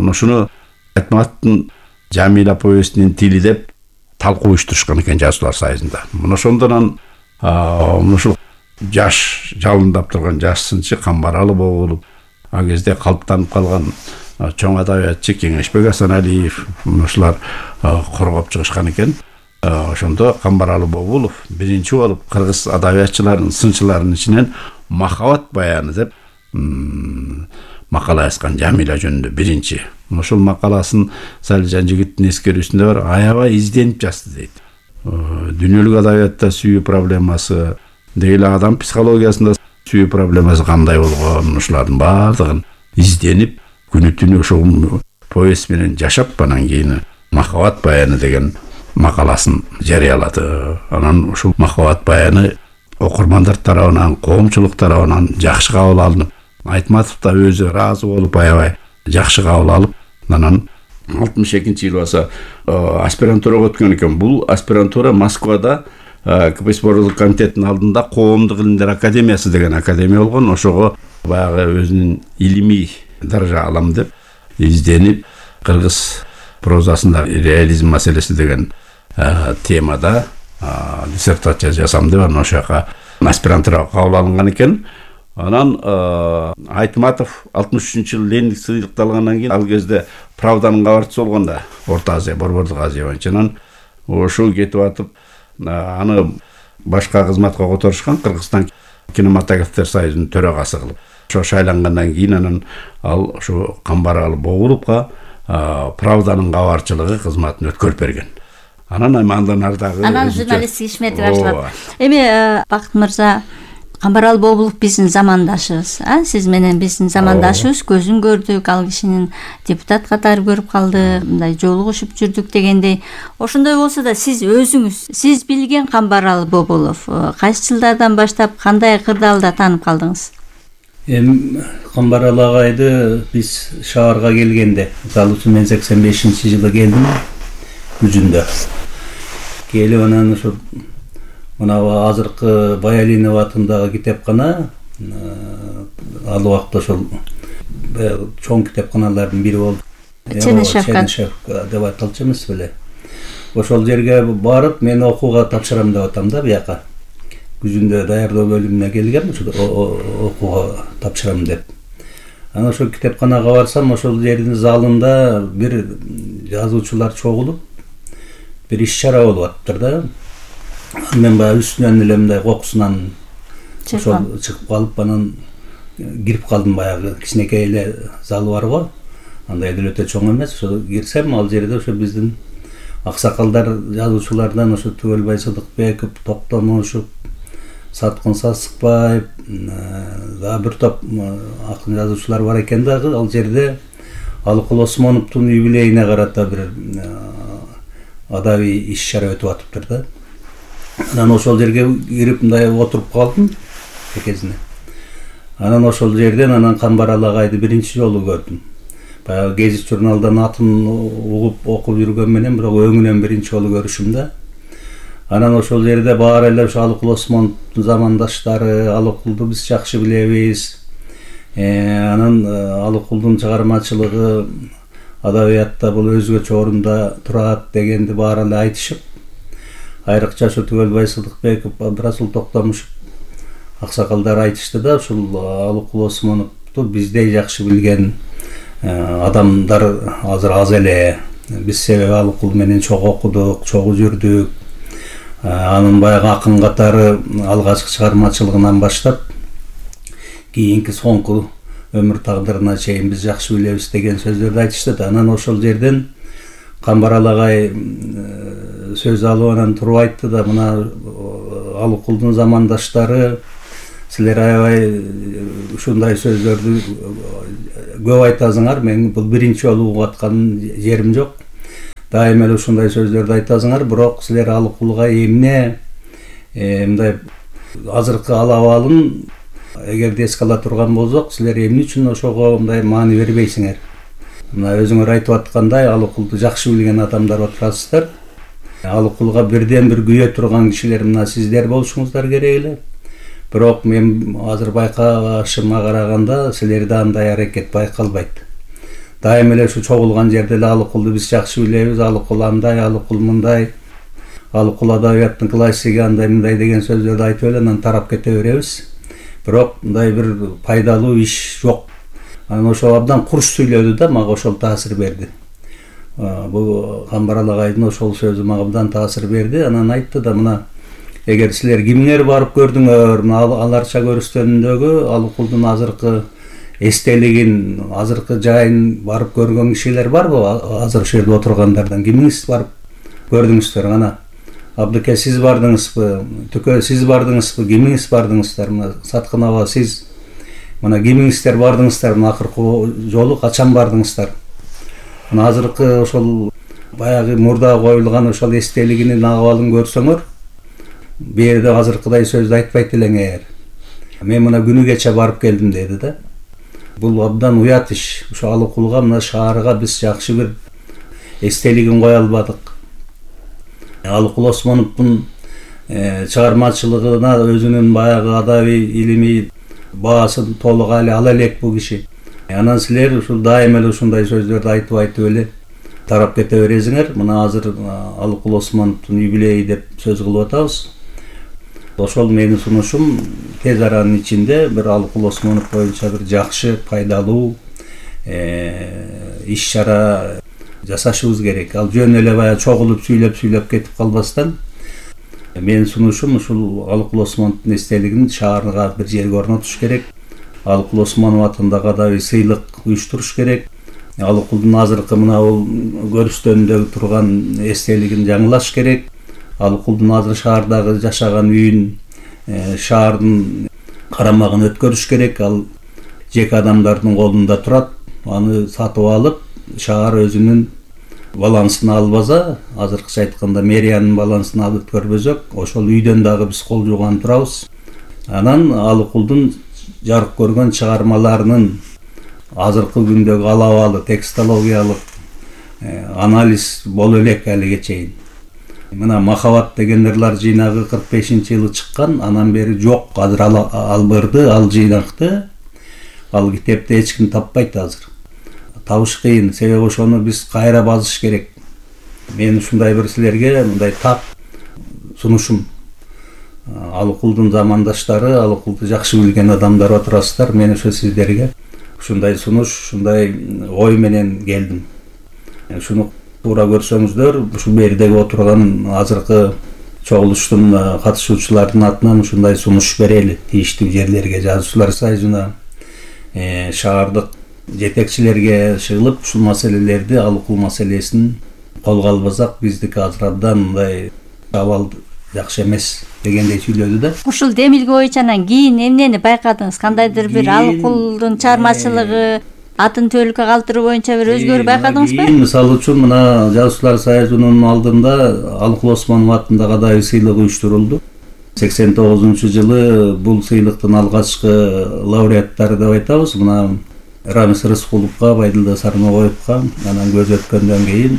ушуну Айтматовдун Жамила повестинин тили деп талкуу уюштурушкан экен жазуулар союзунда. Муну ошондон ушул жаш жалындап турган жаш сынчы Камбаралы болуп, ал кезде калыптанып калган чоң адабиятчы Кеңешбек Асаналиев ушулар коргоп чыгышкан экен. Ошондо Камбаралы Бобулов биринчи болуп кыргыз адабиятчыларынын сынчыларынын ичинен Махабат баяны деп макала жазган, Жамила жөнүндө биринчи. Ошол макаласын Салижан жигиттин эскерүүсүндө бар, аябай изденип жазды дейт. Дүйнөлүк адабиятта сүйүү проблемасы, деги адам психологиясында сүйүү проблемасы кандай болгон, ушулардын баардыгын изденип, күнү түнү ошол повесть менен жашап, анан кийин Махабат баяны деген макаласын жарыялады. Анан ушул Махабат баяны окурмандар тарабынан, коомчулук тарабынан жакшы кабыл алынып, Айтматов да өзү ыраазы болуп, аябай жакшы кабыл алып, анан алтымыш экинчи жылы баса аспирантурага өткөн экен. Бул аспирантура Москвада КПСС Борборлук комитетинин алдында Коомдук илимдер академиясы деген академия болгон. Ошого баягы өзүнүн илимий даража алам деп изденип, кыргыз прозасында реализм маселеси деген темада диссертация жазам деп анан ошол жака аспирантурага кабыл алынган экен. Анан Айтматов алтымыш үчүнчү жылы Лениндик сыйлыкты алгандан кийин ал кезде Правданын кабарчысы болгон да, Орто Азия, Борбордук Азия боюнча. Анан ошол кетип атып, аны башка кызматка которушкан, Кыргызстан кинематографтер союзунун төрагасы кылып. Ошо шайлангандан кийин анан ал ошо Камбаралы Богуловго Правданын кабарчылыгы кызматын өткөрүп берген. Анан андан ардагы анан журналисттик ишмети башталат. Эми Бакыт мырза, Камбаралы Бобулов биздин замандашыбыз, а сиз менен биздин замандашыбыз, көзүн көрдүк, ал кишинин депутат катары көрүп калдык, мындай жолугушуп жүрдүк дегендей. Ошондой болсо да сиз өзүңүз, сиз билген Камбаралы Бобулов кайсы жылдардан баштап кандай кырдаалда таанып калдыңыз? Эми Камбаралы агайды биз шаарга келгенде, мисалы үчүн мен сексен бешинчи жылы келдим, күзүндө. Келип анан ошо мына азыркы Баялинов атындагы китепкана, ал убакта ошол чоң китепканалардын бири болду. Чернышевка деп айтылчу эмес беле. Ошол жерге барып, мен окууга тапшырам деп атам да, бияка. Күзүндө даярдоо бөлүмүнө келгем, окууга тапшырам деп. Анан ошол китепканага барсам, ошол жердин залында бир жазуучулар чогулуп, бир иш-чара болуп атыптыр да. Мен баягы үстүнөн эле мындай кокусунан ошол чыгып калып, анан кирип калдым. Баягы кичинекей эле залы бар го, андай деле өтө чоң эмес. Ошо кирсем, ал жерде ошо биздин аксакалдар, жазуучулардан ошо Түгөлбай Сыдыкбеков, Токтомушев, Саткын Сасыкбаев, да бир топ акын жазуучулар бар экен дагы. Ал жерде Алыкул Осмоновдун юбилейине карата бир адабий иш-чара өтүп атыптыр да. Анан ошол жерге кирип мындай отуруп калдым экезине. Анан ошол жерден анан Камбаралы агайды биринчи жолу көрдүм. Баягы гезит журналдан атын угуп окуп жүргөн менен, бирок өңүнөн биринчи жолу көрүшүм да. Анан ошол жерде баары эле ошо Алыкул Осмоновдун замандаштары, Алыкулду биз жакшы билебиз. Анан Алыкулдун чыгармачылыгы адабиятта бул өзгөчө орунда турат дегенди баары эле айтышып, айрыкча ошо Түгөлбай Сыдыкбеков, Абдрасул Токтомушев аксакалдар айтышты да, ушул Алыкул Осмоновду биздей жакшы билген адамдар азыр аз эле. Биз себеби Алыкул менен чогуу окудук, чогуу жүрдүк. Анын баягы акын катары алгачкы чыгармачылыгынан баштап кийинки соңку өмүр тагдырына чейин биз жакшы билебиз деген сөздөрдү айтышты да. Анан ошол жерден Камбарал агай сөз алып анан туруп айтты да, мына Алыкулдун замандаштары силер аябай ушундай сөздөрдү көп айтасыңар. Мен бул биринчи жолу угуп аткан жерим жок. Дайыма эле ушундай сөздөрдү айтасыңар, бирок силер Алыкулга эмне мындай азыркы алабалын эгерде эске ала турган болсок, силер эмне үчүн ошого мындай маани бербейсиңер? Мына өзүңөр айтып аткандай, Алыкулду жакшы билген адамдар отурасыздар. Алыкулга бирден бир күйө турган кишилер мына сиздер болушуңуздар керек эле. Бирок мен азыр байкашыма караганда силерде андай аракет байкалбайт. Дайыма эле ушу чогулган жерде эле Алыкулду биз жакшы билебиз, Алыкул андай, Алыкул мындай, Алыкул адабияттын классиги андай мындай деген сөздөрдү айтып эле анан тарап кете беребиз. Бирок мындай бир пайдалуу иш жок. Анан ошо абдан курч сүйлөдү да, мага ошол таасир берди. Бул Камбарал агайдын ошол сөзү мага абдан таасир берди. Анан айтты да, мына эгер силер кимдер барып көрдүңөр, мына аларча көрүстөнүндөгү Алыкулдун азыркы эстелигин, азыркы жайын барып көргөн кишилер барбы? Азыр ошол жерде отургандардан кимиңиз барып көрдүңүздөр? Ана Абдыке сиз бардыңызбы? Түкө сиз бардыңызбы? Кимиңиз бардыңыздар? Мына Саткын аба сиз мына кимиңиздер бардыңыздар? Мына акыркы жолу качан бардыңыздар? Мына азыркы ошол баягы мурда коюлган ошол эстелигинин абалын көрсөңөр, бу жерде азыркыдай сөздү айтпайт элеңер. Мен мына күнү кече барып келдим деди да. Бул абдан уят иш. Ошо Алыкулга, мына шаарга биз жакшы бир эстелигин кое албадык. Алыкул Осмоновдун чыгармачылыгына өзүнүн баягы адабий илимий баасын толук ала элек бул киши. Анан силер ушул дайыма эле ушундай сөздөрдү айтып айтып эле тарап кете бересиңер. Мына азыр Алыкул Осмоновдун юбилейи деп сөз кылып атабыз. Ошол менин сунушум тез аранын ичинде бир Алыкул Осмонов боюнча бир жакшы, пайдалуу иш чара жасашыбыз керек. Ал жөн эле баягы чогулуп сүйлөп сүйлөп кетип калбастан, менин сунушум ушул Алыкул Осмоновдун эстелигин шаарга бир жерге орнотуш керек. Алыкул Осмонов атындагы адабий сыйлык уюштуруш керек. Алыкулдун азыркы мына бул көрүстөнүндө турган эстелигин жаңылаш керек. Алыкулдун азыр шаардагы жашаган үйүн, шаардын карамагын өткөрүш керек. Ал жеке адамдардын колунда турат. Аны сатып алып, шаар өзүнүн балансына албаса, азыркыча айтканда мэриянын балансына алып өткөрбөсөк, ошол үйдөн дагы биз кол жууган турабыз. Анан Алыкулдун жарык көргөн чыгармаларынын азыркы күндөгү алабалы текстологиялык анализ боло элек алиге чейин. Мына Махаббат деген ырлар жыйнагы кырк бешинчи жылы чыккан, анан бери жок. Азыр ал ырды, ал жыйнакты, ал китепти эч ким таппайт азыр. Табыш кыйын, себеби ошону биз кайра базыш керек. Мен ушундай бир силерге мындай так сунушум. Алыкулдун замандаштары, Алыкулду жакшы билген адамдар отурасыздар. Мен ошо сиздерге ушундай сунуш, ушундай ой менен келдим. Ушуну туура көрсөңүздөр, ушул бердеги отурган азыркы чогулуштун катышуучуларынын атынан ушундай сунуш берели тийиштүү жерлерге, жазуучулар союзуна, шаардык жетекчилерге чыгылып ушул маселелерди, Алыкул маселесин колго албасак, биздики азыр абдан мындай абал жакшы эмес дегендей сүйлөдү да. Ушул демилге боюнча анан кийин эмнени байкадыңыз? Кандайдыр бир Алыкулдун чыгармачылыгы, атын төөлүккө калтыруу боюнча бир өзгөрүү байкадыңызбы? Мисалы үчүн мына жазуучулар союзунун алдында Алыкул Осмонов атындагы адабий сыйлык уюштурулду. сексен тогузунчу жылы бул сыйлыктын алгачкы лауреаттары деп айтабыз. Мына Рамис Рыскуловго, Байдылда Сармагоевго, анан көз өткөндөн кийин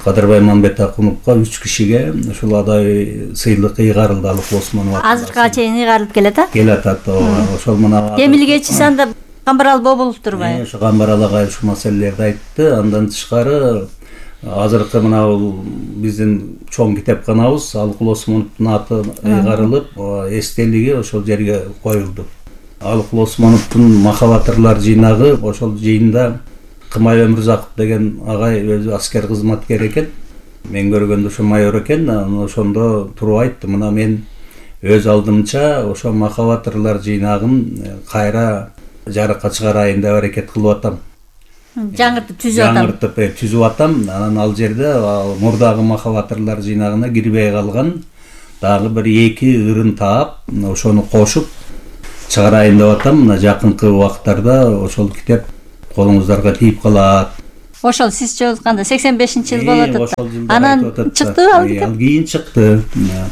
Кадырбай Мамбетакуновго үч кишиге ушул адабий сыйлык ыйгарылды Алыкул Осмонов. Азыркыга чейин ыйгарылып келет а? Келет ат. Ошол мына демилгечи санда Камбарал Бобулов турбайбы? Ошо Камбарал агай ушул маселелерди айтты. Андан тышкары азыркы мына бул биздин чоң китепканабыз Алыкул Осмоновдун аты ыйгарылып, эстелиги ошол жерге коюлду. Алыкул Осмоновдун Махаббат ырлар жыйнагы, ошол жыйында Кымай Өмүрзаков деген агай өзү аскер кызматкер экен. Мен көргөндө ошо майор экен. Ошондо туруп айтты, мына мен өз алдымча ошо Махаббат ырлар жыйнагын кайра жарыкка чыгарайын деп аракет кылып атам. жаңыртып түзүп атам. Жаңыртып түзүп атам. Анан ал жерде мурдагы махабатырлар жыйнагына кирбей калган дагы бир эки ырын таап, ошону кошуп чыгарайын деп атам. Мына жакынкы убакыттарда ошол китеп колуңуздарга тиип калат. Ошол сиз чогултканда сексен бешинчи жыл болот атат. Анан чыкты ал китеп. Ал кийин чыкты.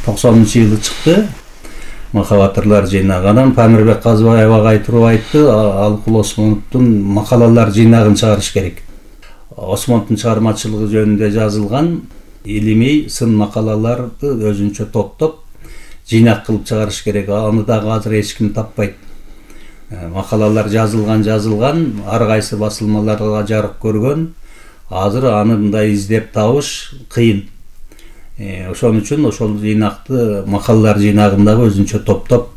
токсонунчу жылы чыкты. Махабатырлар жыйнагы. Анан Памирбек Казыбаев агай туруп айтты, Алыкул Осмоновдун макалалар жыйнагын чыгарыш керек. Осмоновдун чыгармачылыгы жөнүндө жазылган илимий сын макалаларды өзүнчө топтоп жыйнак кылып чыгарыш керек. Аны дагы азыр эч ким таппайт. Макалалар жазылган жазылган, ар кайсы басылмаларга жарык көргөн. Азыр аны мындай издеп табыш кыйын. Ошон үчүн ошол жыйнакты макалалар жыйнагын дагы өзүнчө топтоп,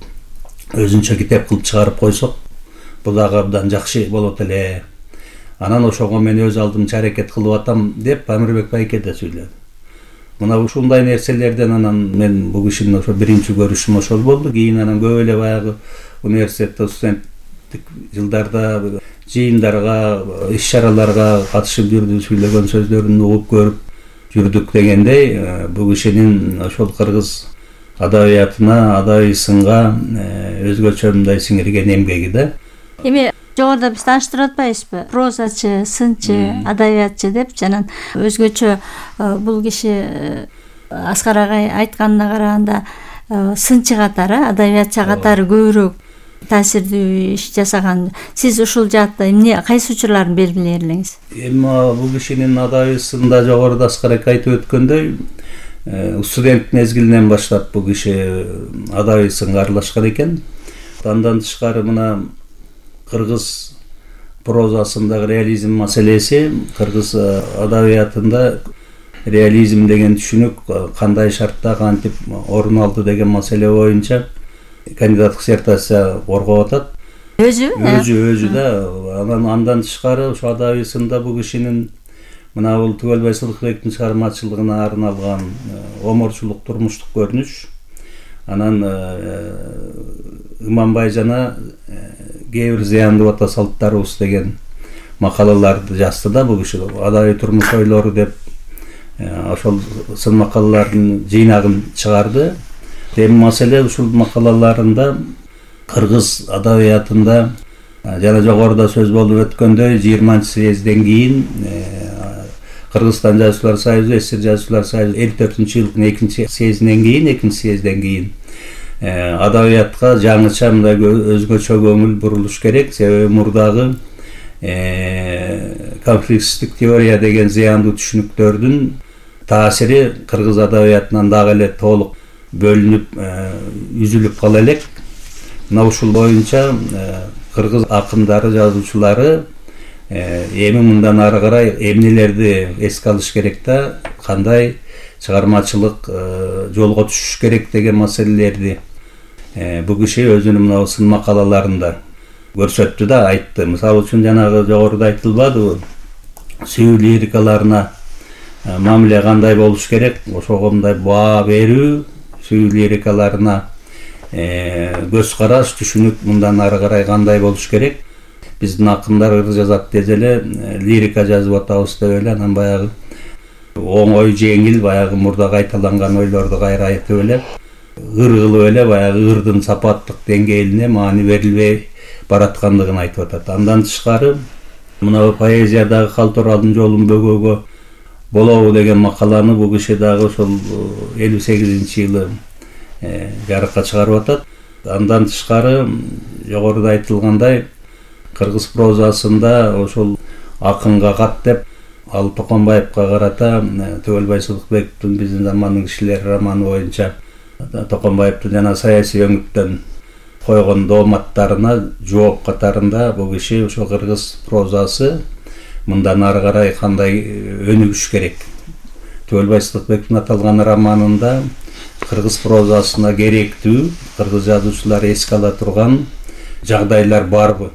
өзүнчө китеп кылып чыгарып койсок, бул дагы абдан жакшы болот эле. Анан ошого мен өз алдымча аракет кылып атам деп Памирбек байке да сүйлөдү. Мына ушундай нерселерден анан мен бул кишинин ошо биринчи көрүшүм ошол болду. Кийин анан көп эле баягы университетте студенттик жылдарда жыйындарга, иш-чараларга катышып жүрдү, сүйлөгөн сөздөрүн угуп көрүп жүрдүк дегендей, бул кишинин ошол кыргыз адабиятына, адабий сынга өзгөчө мындай сиңирген эмгеги да. Эми жогоруда биз тааныштырып атпайбызбы? Прозачы, сынчы, адабиятчы деп, жанан өзгөчө бул киши Аскар агай айтканына караганда сынчы катары, адабиятчы катары көбүрөөк таасирдүү иш жасаган. Сиз ушул жаатта эмне, кайсы учурларын белгилей элеңиз? Эми бул кишинин адабисында жогоруда Аскар акай айтып өткөндөй, студент мезгилинен баштап бул киши адабий сынга аралашкан экен. Андан тышкары мына кыргыз прозасындагы реализм маселеси, кыргыз адабиятында реализм деген түшүнүк кандай шартта кантип орун алды деген маселе боюнча кандидаттык диссертация коргоп атат. Өзү? Өзү, өзү да. Анан андан тышкары ошо адабий сында бул кишинин мына бул Түгөлбай Сыдыкбектин чыгармачылыгына арналган оморчулук турмуштук көрүнүш. Анан Иманбай жана кээ бир зыяндуу ата салттарыбыз деген макалаларды жазды да бул киши. Адабий турмуш ойлору деп ошол сын макалалардын жыйнагын чыгарды. Эми маселе ушул макалаларында кыргыз адабиятында жана жогоруда сөз болуп өткөндөй жыйырманчы съезден кийин Кыргызстан жазуучулар союзу, СССР жазуучулар союзу элүү төртүнчү жылдын экинчи съездинен кийин, экинчи съезден кийин адабиятка жаңыча мындай өзгөчө көңүл бурулуш керек. Себеби мурдагы конфликттик теория деген зыяндуу түшүнүктөрдүн таасири кыргыз адабиятынан дагы эле толук бөлүнүп, үзүлүп кала элек. Мына ушул боюнча кыргыз акындары, жазуучулары эми мындан ары карай эмнелерди эске алыш керек да, кандай чыгармачылык жолго түшүш керек деген маселелерди бул киши өзүнүн мына сын макалаларында көрсөттү да, айтты. Мисалы үчүн жанагы жогоруда айтылбадыбы, сүйүү лирикаларына мамиле кандай болуш керек, ошого мындай баа берүү, сүйүү лирикаларына көз караш, түшүнүк мындан ары карай кандай болуш керек. Биздин акындар ыр жазат деже эле лирика жазып атабыз деп эле, анан баягы оңой, жеңил, баягы мурда кайталанган ойлорду кайра айтып эле, ыр кылып эле баягы ырдын сапаттык деңгээлине маани берилбей бараткандыгын айтып атат. Андан тышкары мына поэзиядагы Калтуралдын жолун бөгөөгө болобу деген макаланы бул киши дагы ошол элүү сегизинчи жылы жарыкка чыгарып атат. Андан тышкары жогоруда айтылгандай кыргыз прозасында ошол акынга кат деп ал Токонбаевка карата Түгөлбай Сыдыкбектин биздин замандын кишилери романы боюнча Токонбаевдин жана саясий өңүттөн койгон дооматтарына жооп катарында бул киши ошо кыргыз прозасы мындан ары карай кандай өнүгүш керек. Түгөлбай Сыдыкбектин аталган романында кыргыз прозасына керектүү, кыргыз жазуучулары эске ала турган жагдайлар барбы?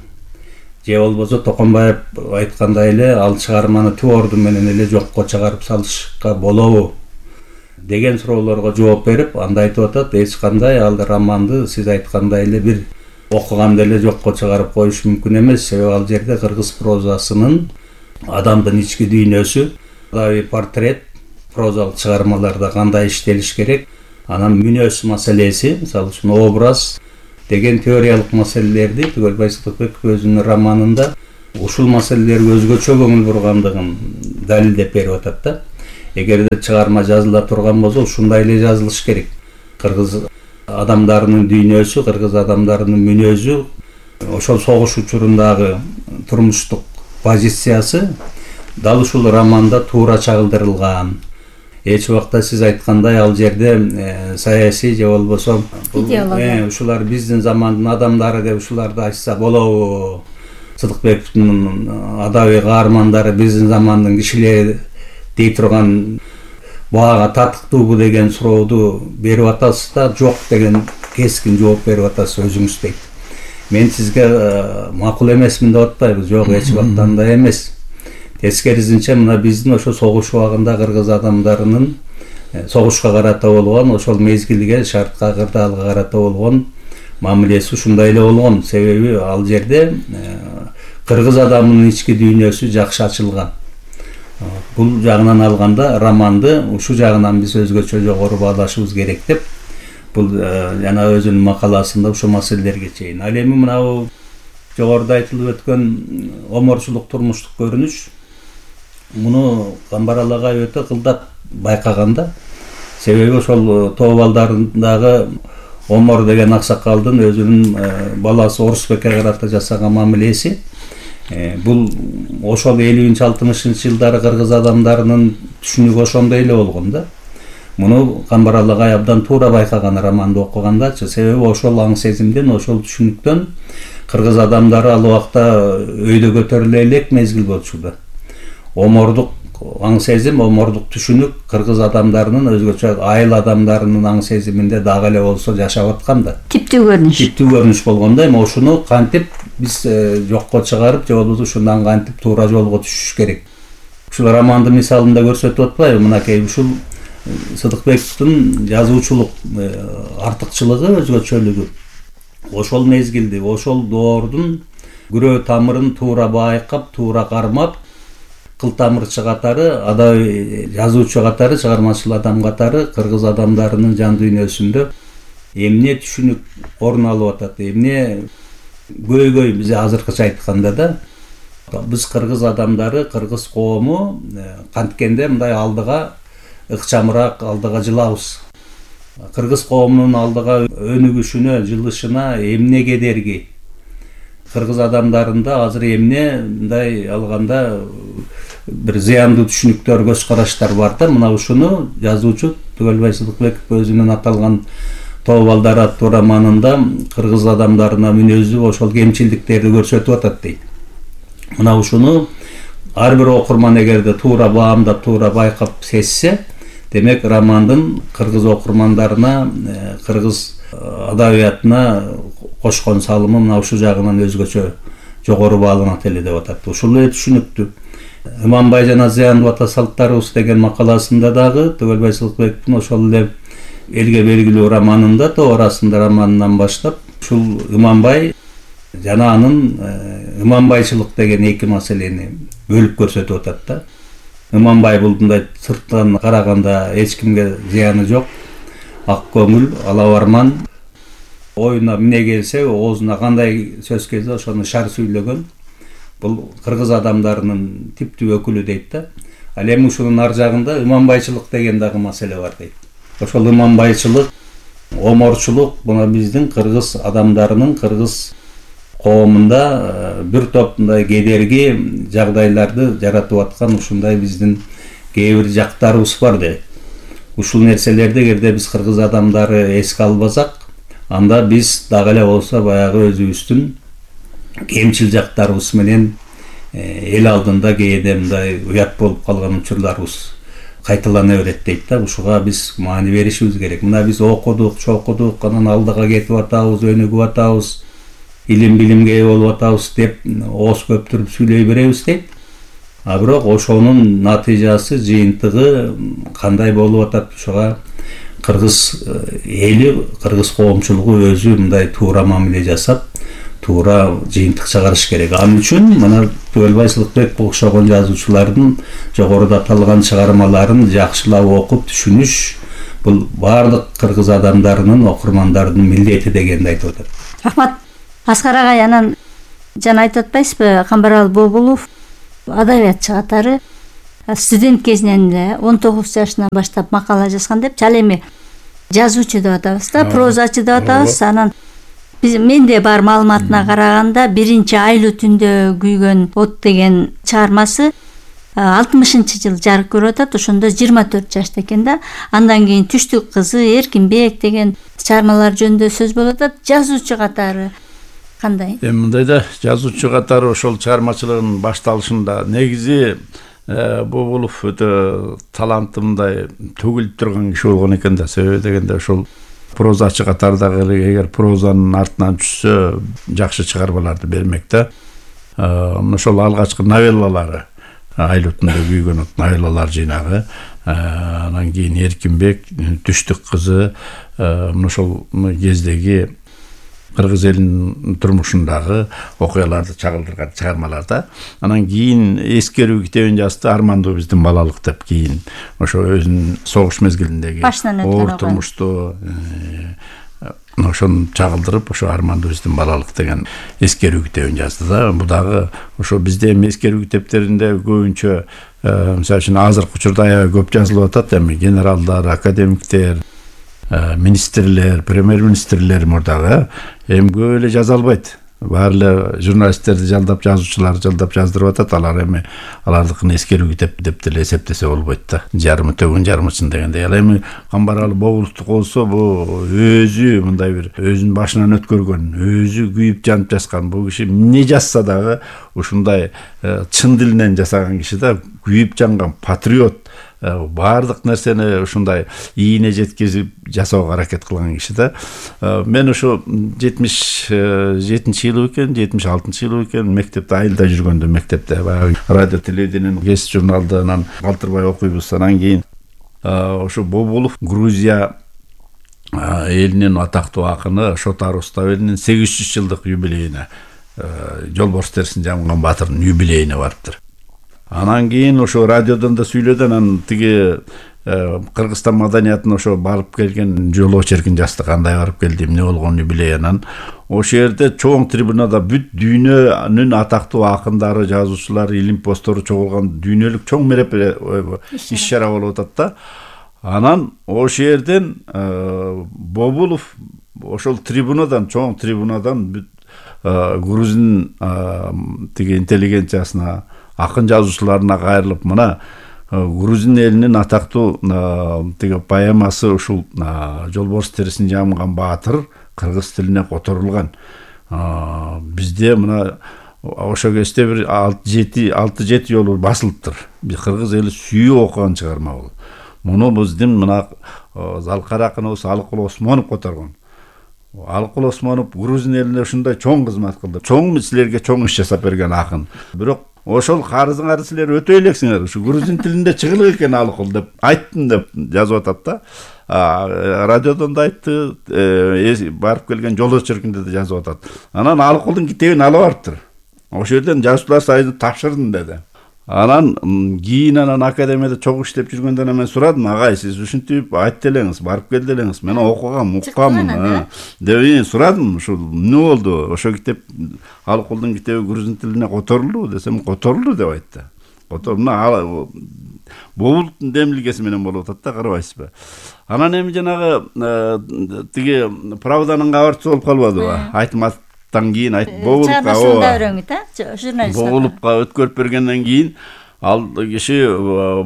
Же болбосо Токонбаев айткандай эле ал чыгарманы түп орду менен эле жокко чыгарып салышка болобу деген суроолорго жооп берип, анда айтып атат, эч кандай ал романды сиз айткандай эле бир окуганда эле жокко чыгарып коюш мүмкүн эмес. Себеби ал жерде кыргыз прозасынын адамдын ички дүйнөсү, адабий портрет, прозалык чыгармаларда кандай иштелиш керек, анан мүнөз маселеси, мисалы үчүн образ деген теориялык маселелерди Түгөлбай Сыдыкбеков өзүнүн романында ушул маселелерге өзгөчө көңүл бургандыгын далилдеп берип атат да. Эгерде чыгарма жазыла турган болсо ушундай эле жазылыш керек. Кыргыз адамдарынын дүйнөсү, кыргыз адамдарынын мүнөзү, ошол согуш учурундагы турмуштук позициясы дал ушул романда туура чагылдырылган. Эч убакта сиз айткандай ал жерде саясий же болбосо ушулар биздин замандын адамдары деп ушуларды айтса болобу? Сыдыкбековдун адабий каармандары биздин замандын кишилери дей турган бага татыктуубу деген сурооду берип атасыз да, жок деген кескин жооп берип атасыз өзүңүз дейт. Мен сизге макул эмесмин деп атпайбы, жок, эч убакта андай эмес. Тескерисинче мына биздин ошо согуш убагында кыргыз адамдарынын согушка карата болгон, ошол мезгилге, шартка, кырдаалга карата болгон мамилеси ушундай эле болгон. Себеби ал жерде кыргыз адамынын ички дүйнөсү жакшы ачылган. Бул жагынан алганда романды ушул жагынан биз өзгөчө жогору баалашыбыз керек деп бул жана өзүнүн макаласында ушул маселелерге чейин. Ал эми мына жогоруда айтылып өткөн оморчулук турмуштук көрүнүш муну Камбар агай өтө кылдат байкаганда. Себеби ошол тоо балдарындагы Омор деген аксакалдын өзүнүн баласы Орусбекке карата жасаган мамилеси бул ошол элүүнчү алтымышынчы жылдары кыргыз адамдарынын түшүнүгү ошондой эле болгон да. Муну Камбар агай абдан туура байкаган романды окугандачы. Себеби ошол аң сезимден, ошол түшүнүктөн кыргыз адамдары ал убакта өйдө көтөрүлө элек мезгил болчу да. Омордук аң сезим, омордук түшүнүк кыргыз адамдарынын өзгөчө айыл адамдарынын аң сезиминде дагы эле болсо жашап аткан да. Типтүү көрүнүш. Типтүү көрүнүш болгондо эми ошону кантип биз жокко чыгарып, же болбосо ушундан кантип туура жолго түшүш керек. Ушул романдын мисалында көрсөтүп атпайбы? Мынакей ушул Сыдыкбековдун жазуучулук артыкчылыгы, өзгөчөлүгү. Ошол мезгилди, ошол доордун күрөө тамырын туура байкап, туура кармап, кылтамырчы катары, адабий жазуучу катары, чыгармачыл адам катары кыргыз адамдарынын жан дүйнөсүндө эмне түшүнүк орун алып атат, эмне көйгөй, биз азыркыча айтканда да, биз кыргыз адамдары, кыргыз коому канткенде мындай алдыга ыкчамыраак, алдыга жылабыз. Кыргыз коомунун алдыга өнүгүшүнө, жылышына эмне кедерги? Кыргыз адамдарында азыр эмне мындай алганда бир зыяндуу түшүнүктөр, көз караштар бар да. Мына ушуну жазуучу Түгөлбай Сыдыкбеков өзүнүн аталган Тоо балдар аттуу романында кыргыз адамдарына мүнөзү ошол кемчилдиктерди көрсөтүп атат дейт. Мына ушуну ар бир окурман эгерде туура баамдап, туура байкап сезсе, демек романдын кыргыз окурмандарына, кыргыз адабиятына кошкон салымы мына ушул жагынан өзгөчө жогору бааланат эле деп атат. Ушул эле түшүнүктүү. Иманбай жана Зыяндуу ата салттарыбыз деген макаласында дагы Түгөлбай Сыдыкбековдун ошол эле элге белгилүү романында, Тоо арасында романынан баштап, ушул Иманбай жана анын ыманбайчылык деген эки маселени бөлүп көрсөтүп атат да. Иманбай бул мындай сырттан караганда эч кимге зыяны жок, ак көңүл, алабарман, оюна эмне келсе, оозуна кандай сөз келсе ошону шар сүйлөгөн. Бул кыргыз адамдарынын типтүү өкүлү дейт да. Ал эми ушунун ар жагында иманбайчылык деген дагы маселе бар дейт. Ошол иманбайчылык, оморчулук мына биздин кыргыз адамдарынын, кыргыз коомунда бир топ мындай кедерги жагдайларды жаратып аткан ушундай биздин кээ бир жактарыбыз бар дейт. Ушул нерселерди эгерде биз кыргыз адамдары эске албасак, анда биз дагы эле болсо баягы өзүбүздүн кемчил жактарыбыз менен эл алдында кээде мындай уят болуп калган учурларыбыз кайталана берет дейт да. Ушуга биз маани беришибиз керек. Мына биз окудук, чокудук, анан алдыга кетип атабыз, өнүгүп атабыз, илим билимге ээ болуп атабыз деп ооз көптүрүп сүйлөй беребиз дейт. А бирок ошонун натыйжасы, жыйынтыгы кандай болуп атат? Ушуга кыргыз эли, кыргыз коомчулугу өзү мындай туура мамиле жасап, туура жыйынтык чыгарыш керек. Ал үчүн мына Түгөлбай Сылыкбек окшогон жазуучулардын жогоруда аталган чыгармаларын жакшылап окуп түшүнүш бул баардык кыргыз адамдарынын, окурмандардын милдети дегенди айтып атат. Рахмат. Аскар агай, анан жана айтып атпайсызбы, Камбарал Бобулов адабиятчы катары студент кезинен эле он тогуз жашынан баштап макала жазган депчи. Ал эми жазуучу деп атабыз да, прозачы деп атабыз. Анан биз менде бар маалыматына караганда биринчи Айлуу түндө күйгөн от деген чыгармасы алтымышынчы жыл жарык көрүп атат. Ошондо жыйырма төрт жашта экен да. Андан кийин Түштүк кызы, Эркинбек деген чыгармалар жөнүндө сөз болуп атат. Жазуучу катары кандай? Эми мындай да, жазуучу катары ошол чыгармачылыгынын башталышында негизи Бобулов өтө таланты мындай төгүлүп турган киши болгон экен да. Себеби дегенде ошол прозачы катардагы эгер прозанын артынан түшсө жакшы чыгармаларды бермек да. Мына ошол алгачкы новеллалары Айлуу түндө күйгөн от новеллалар жыйнагы, анан кийин Эркинбек, Түштүк кызы, мына ошол кездеги кыргыз элинин турмушундагы окуяларды чагылдырган чыгармалар да. Анан кийин эскерүү китебин жазды, Армандуу биздин балалык деп. Кийин ошо өзүнүн согуш мезгилиндеги оор турмушту ошону чагылдырып, ошо Армандуу биздин балалык деген эскерүү китебин жазды да. Бул дагы ошо бизде эми эскерүү китептеринде көбүнчө мисалы үчүн азыркы учурда аябай көп жазылып атат. Эми генералдар, академиктер, министрлер, премьер-министрлер мурдагы эми көп эле жаза албайт. Баары эле журналисттерди жалдап, жазуучулар жалдап жаздырып атат. Алар эми алардыкын эскерүү китеп деп деле эсептесе болбойт да. Жарымы төгүн, жарымы чын дегендей. Ал эми Камбарал Бобуловдук болсо, бул өзү мындай бир өзүнүн башынан өткөргөн, өзү күйүп жанып жазган. Бул киши эмне жазса дагы ушундай чын дилинен жасаган киши да, күйүп жанган патриот. Баардык нерсени ушундай ийине жеткизип жасоого аракет кылган киши да. Мен ошо жетимиш жетинчи жылы экен, жетимиш алтынчы жылы экен, мектепте айылда жүргөндө, мектепте баягы радио телевидениенин кесип журналынан калтырбай окуйбуз. Анан кийин ошо Бобулов Грузия элинин атактуу акыны Шотар Уставелинин сегиз жүз жылдык юбилейине, Жолборс терисин жамган баатырдын юбилейине барыптыр. Анан кийин ошо радиодон да сүйлөдү. Анан тиги Кыргызстан маданиятына ошо барып келген жол очеркин жазды, кандай барып келди, эмне болгон юбилей. Анан ошол жерде чоң трибунада бүт дүйнөнүн атактуу акындары, жазуучулары, илим постору чогулган дүйнөлүк чоң мереке иш чара болуп атат да. Анан ошол жерден Бобулов ошол трибунадан, чоң трибунадан бүт грузин тиги интеллигенциясына, акын жазуучуларына кайрылып, мына грузин элинин атактуу тиги поэмасы ушул Жолборс терисин жамган баатыр кыргыз тилине которулган. Бизде мына ошо кезде бир алты жети жолу басылыптыр. Биз кыргыз эли сүйүп окуган чыгарма бул. Муну биздин мына залкар акыныбыз Алыкул Осмонов которгон. Алыкул Осмонов грузин элине ушундай чоң кызмат кылды. Чоң силерге чоң иш жасап берген акын. Бирок ошол карызыңарды силер өтөй элексиңер. Ушу грузин тилинде чыгылык экен Алыкул деп айттым деп жазып атат да. Радиодон да айтты, барып келген жол очеркинде да жазып атат. Анан Алыкулдун китебин алып барыптыр. Ошол жерден жазуучулар союзуна тапшырдым деди. Анан кийин анан академияда чогуу иштеп жүргөндөн мен сурадым, агай, сиз ушинтип айтты элеңиз, барып келди элеңиз, мен окугам, уккаммын деп сурадым. Ушул эмне болду? Ошо китеп Алыкулдун китеби грузин тилине которулду десем, которулду деп айтты. Которуна Бобуловдун демилгеси менен болуп атат да, карабайсызбы? Анан эми жанагы тиги Правданын кабарчысы болуп калбадыбы? Айтмат Тан кийин айт Бобуловго өткөрүп бергенден кийин ал киши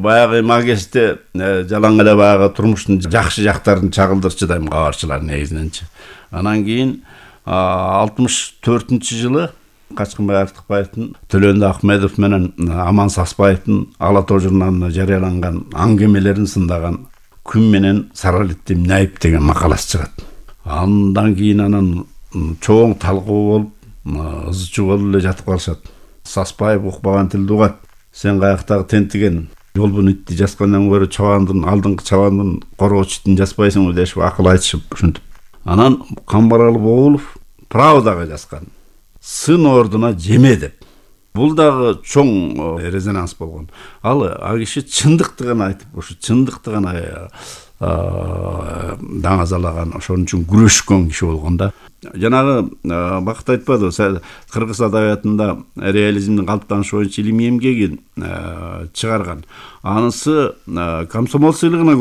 баягы магисте жалаң эле баягы турмуштун жакшы жактарын чагылдырчу дайым кабарчылар негизиненчи. Анан кийин алтымыш төртүнчү жылы Качкынбай Артыкбаевдин, Төлөндү Ахмедов менен Аман Саспаевдин Ала Тоо журналына жарыяланган аңгемелерин сындаган Күн менен Саралетти эмне айып деген макаласы чыгат. Андан кийин анан чоң талкуу болуп, ызычуу болуп эле жатып калышат. Саспаев укпаган тилди угат. Сен каяктагы тентиген жолбун итти жазгандан көрө чабандын, алдыңкы чабандын коргоочу итин жазбайсыңбы дешип акыл айтышып ушинтип. Анан Камбарал Бобулов Правдага жазган. сын ордуна жеме деп. Бул дагы чоң резонанс болгон. Ал а киши чындыкты гана айтып, ошо чындыкты гана даңазалаган, ошон үчүн күрөшкөн киши болгон да. Жанагы Бакыт айтпады, кыргыз адабиятында реализмдин калыптанышы боюнча илимий эмгегин чыгарган. Анысы комсомол сыйлыгына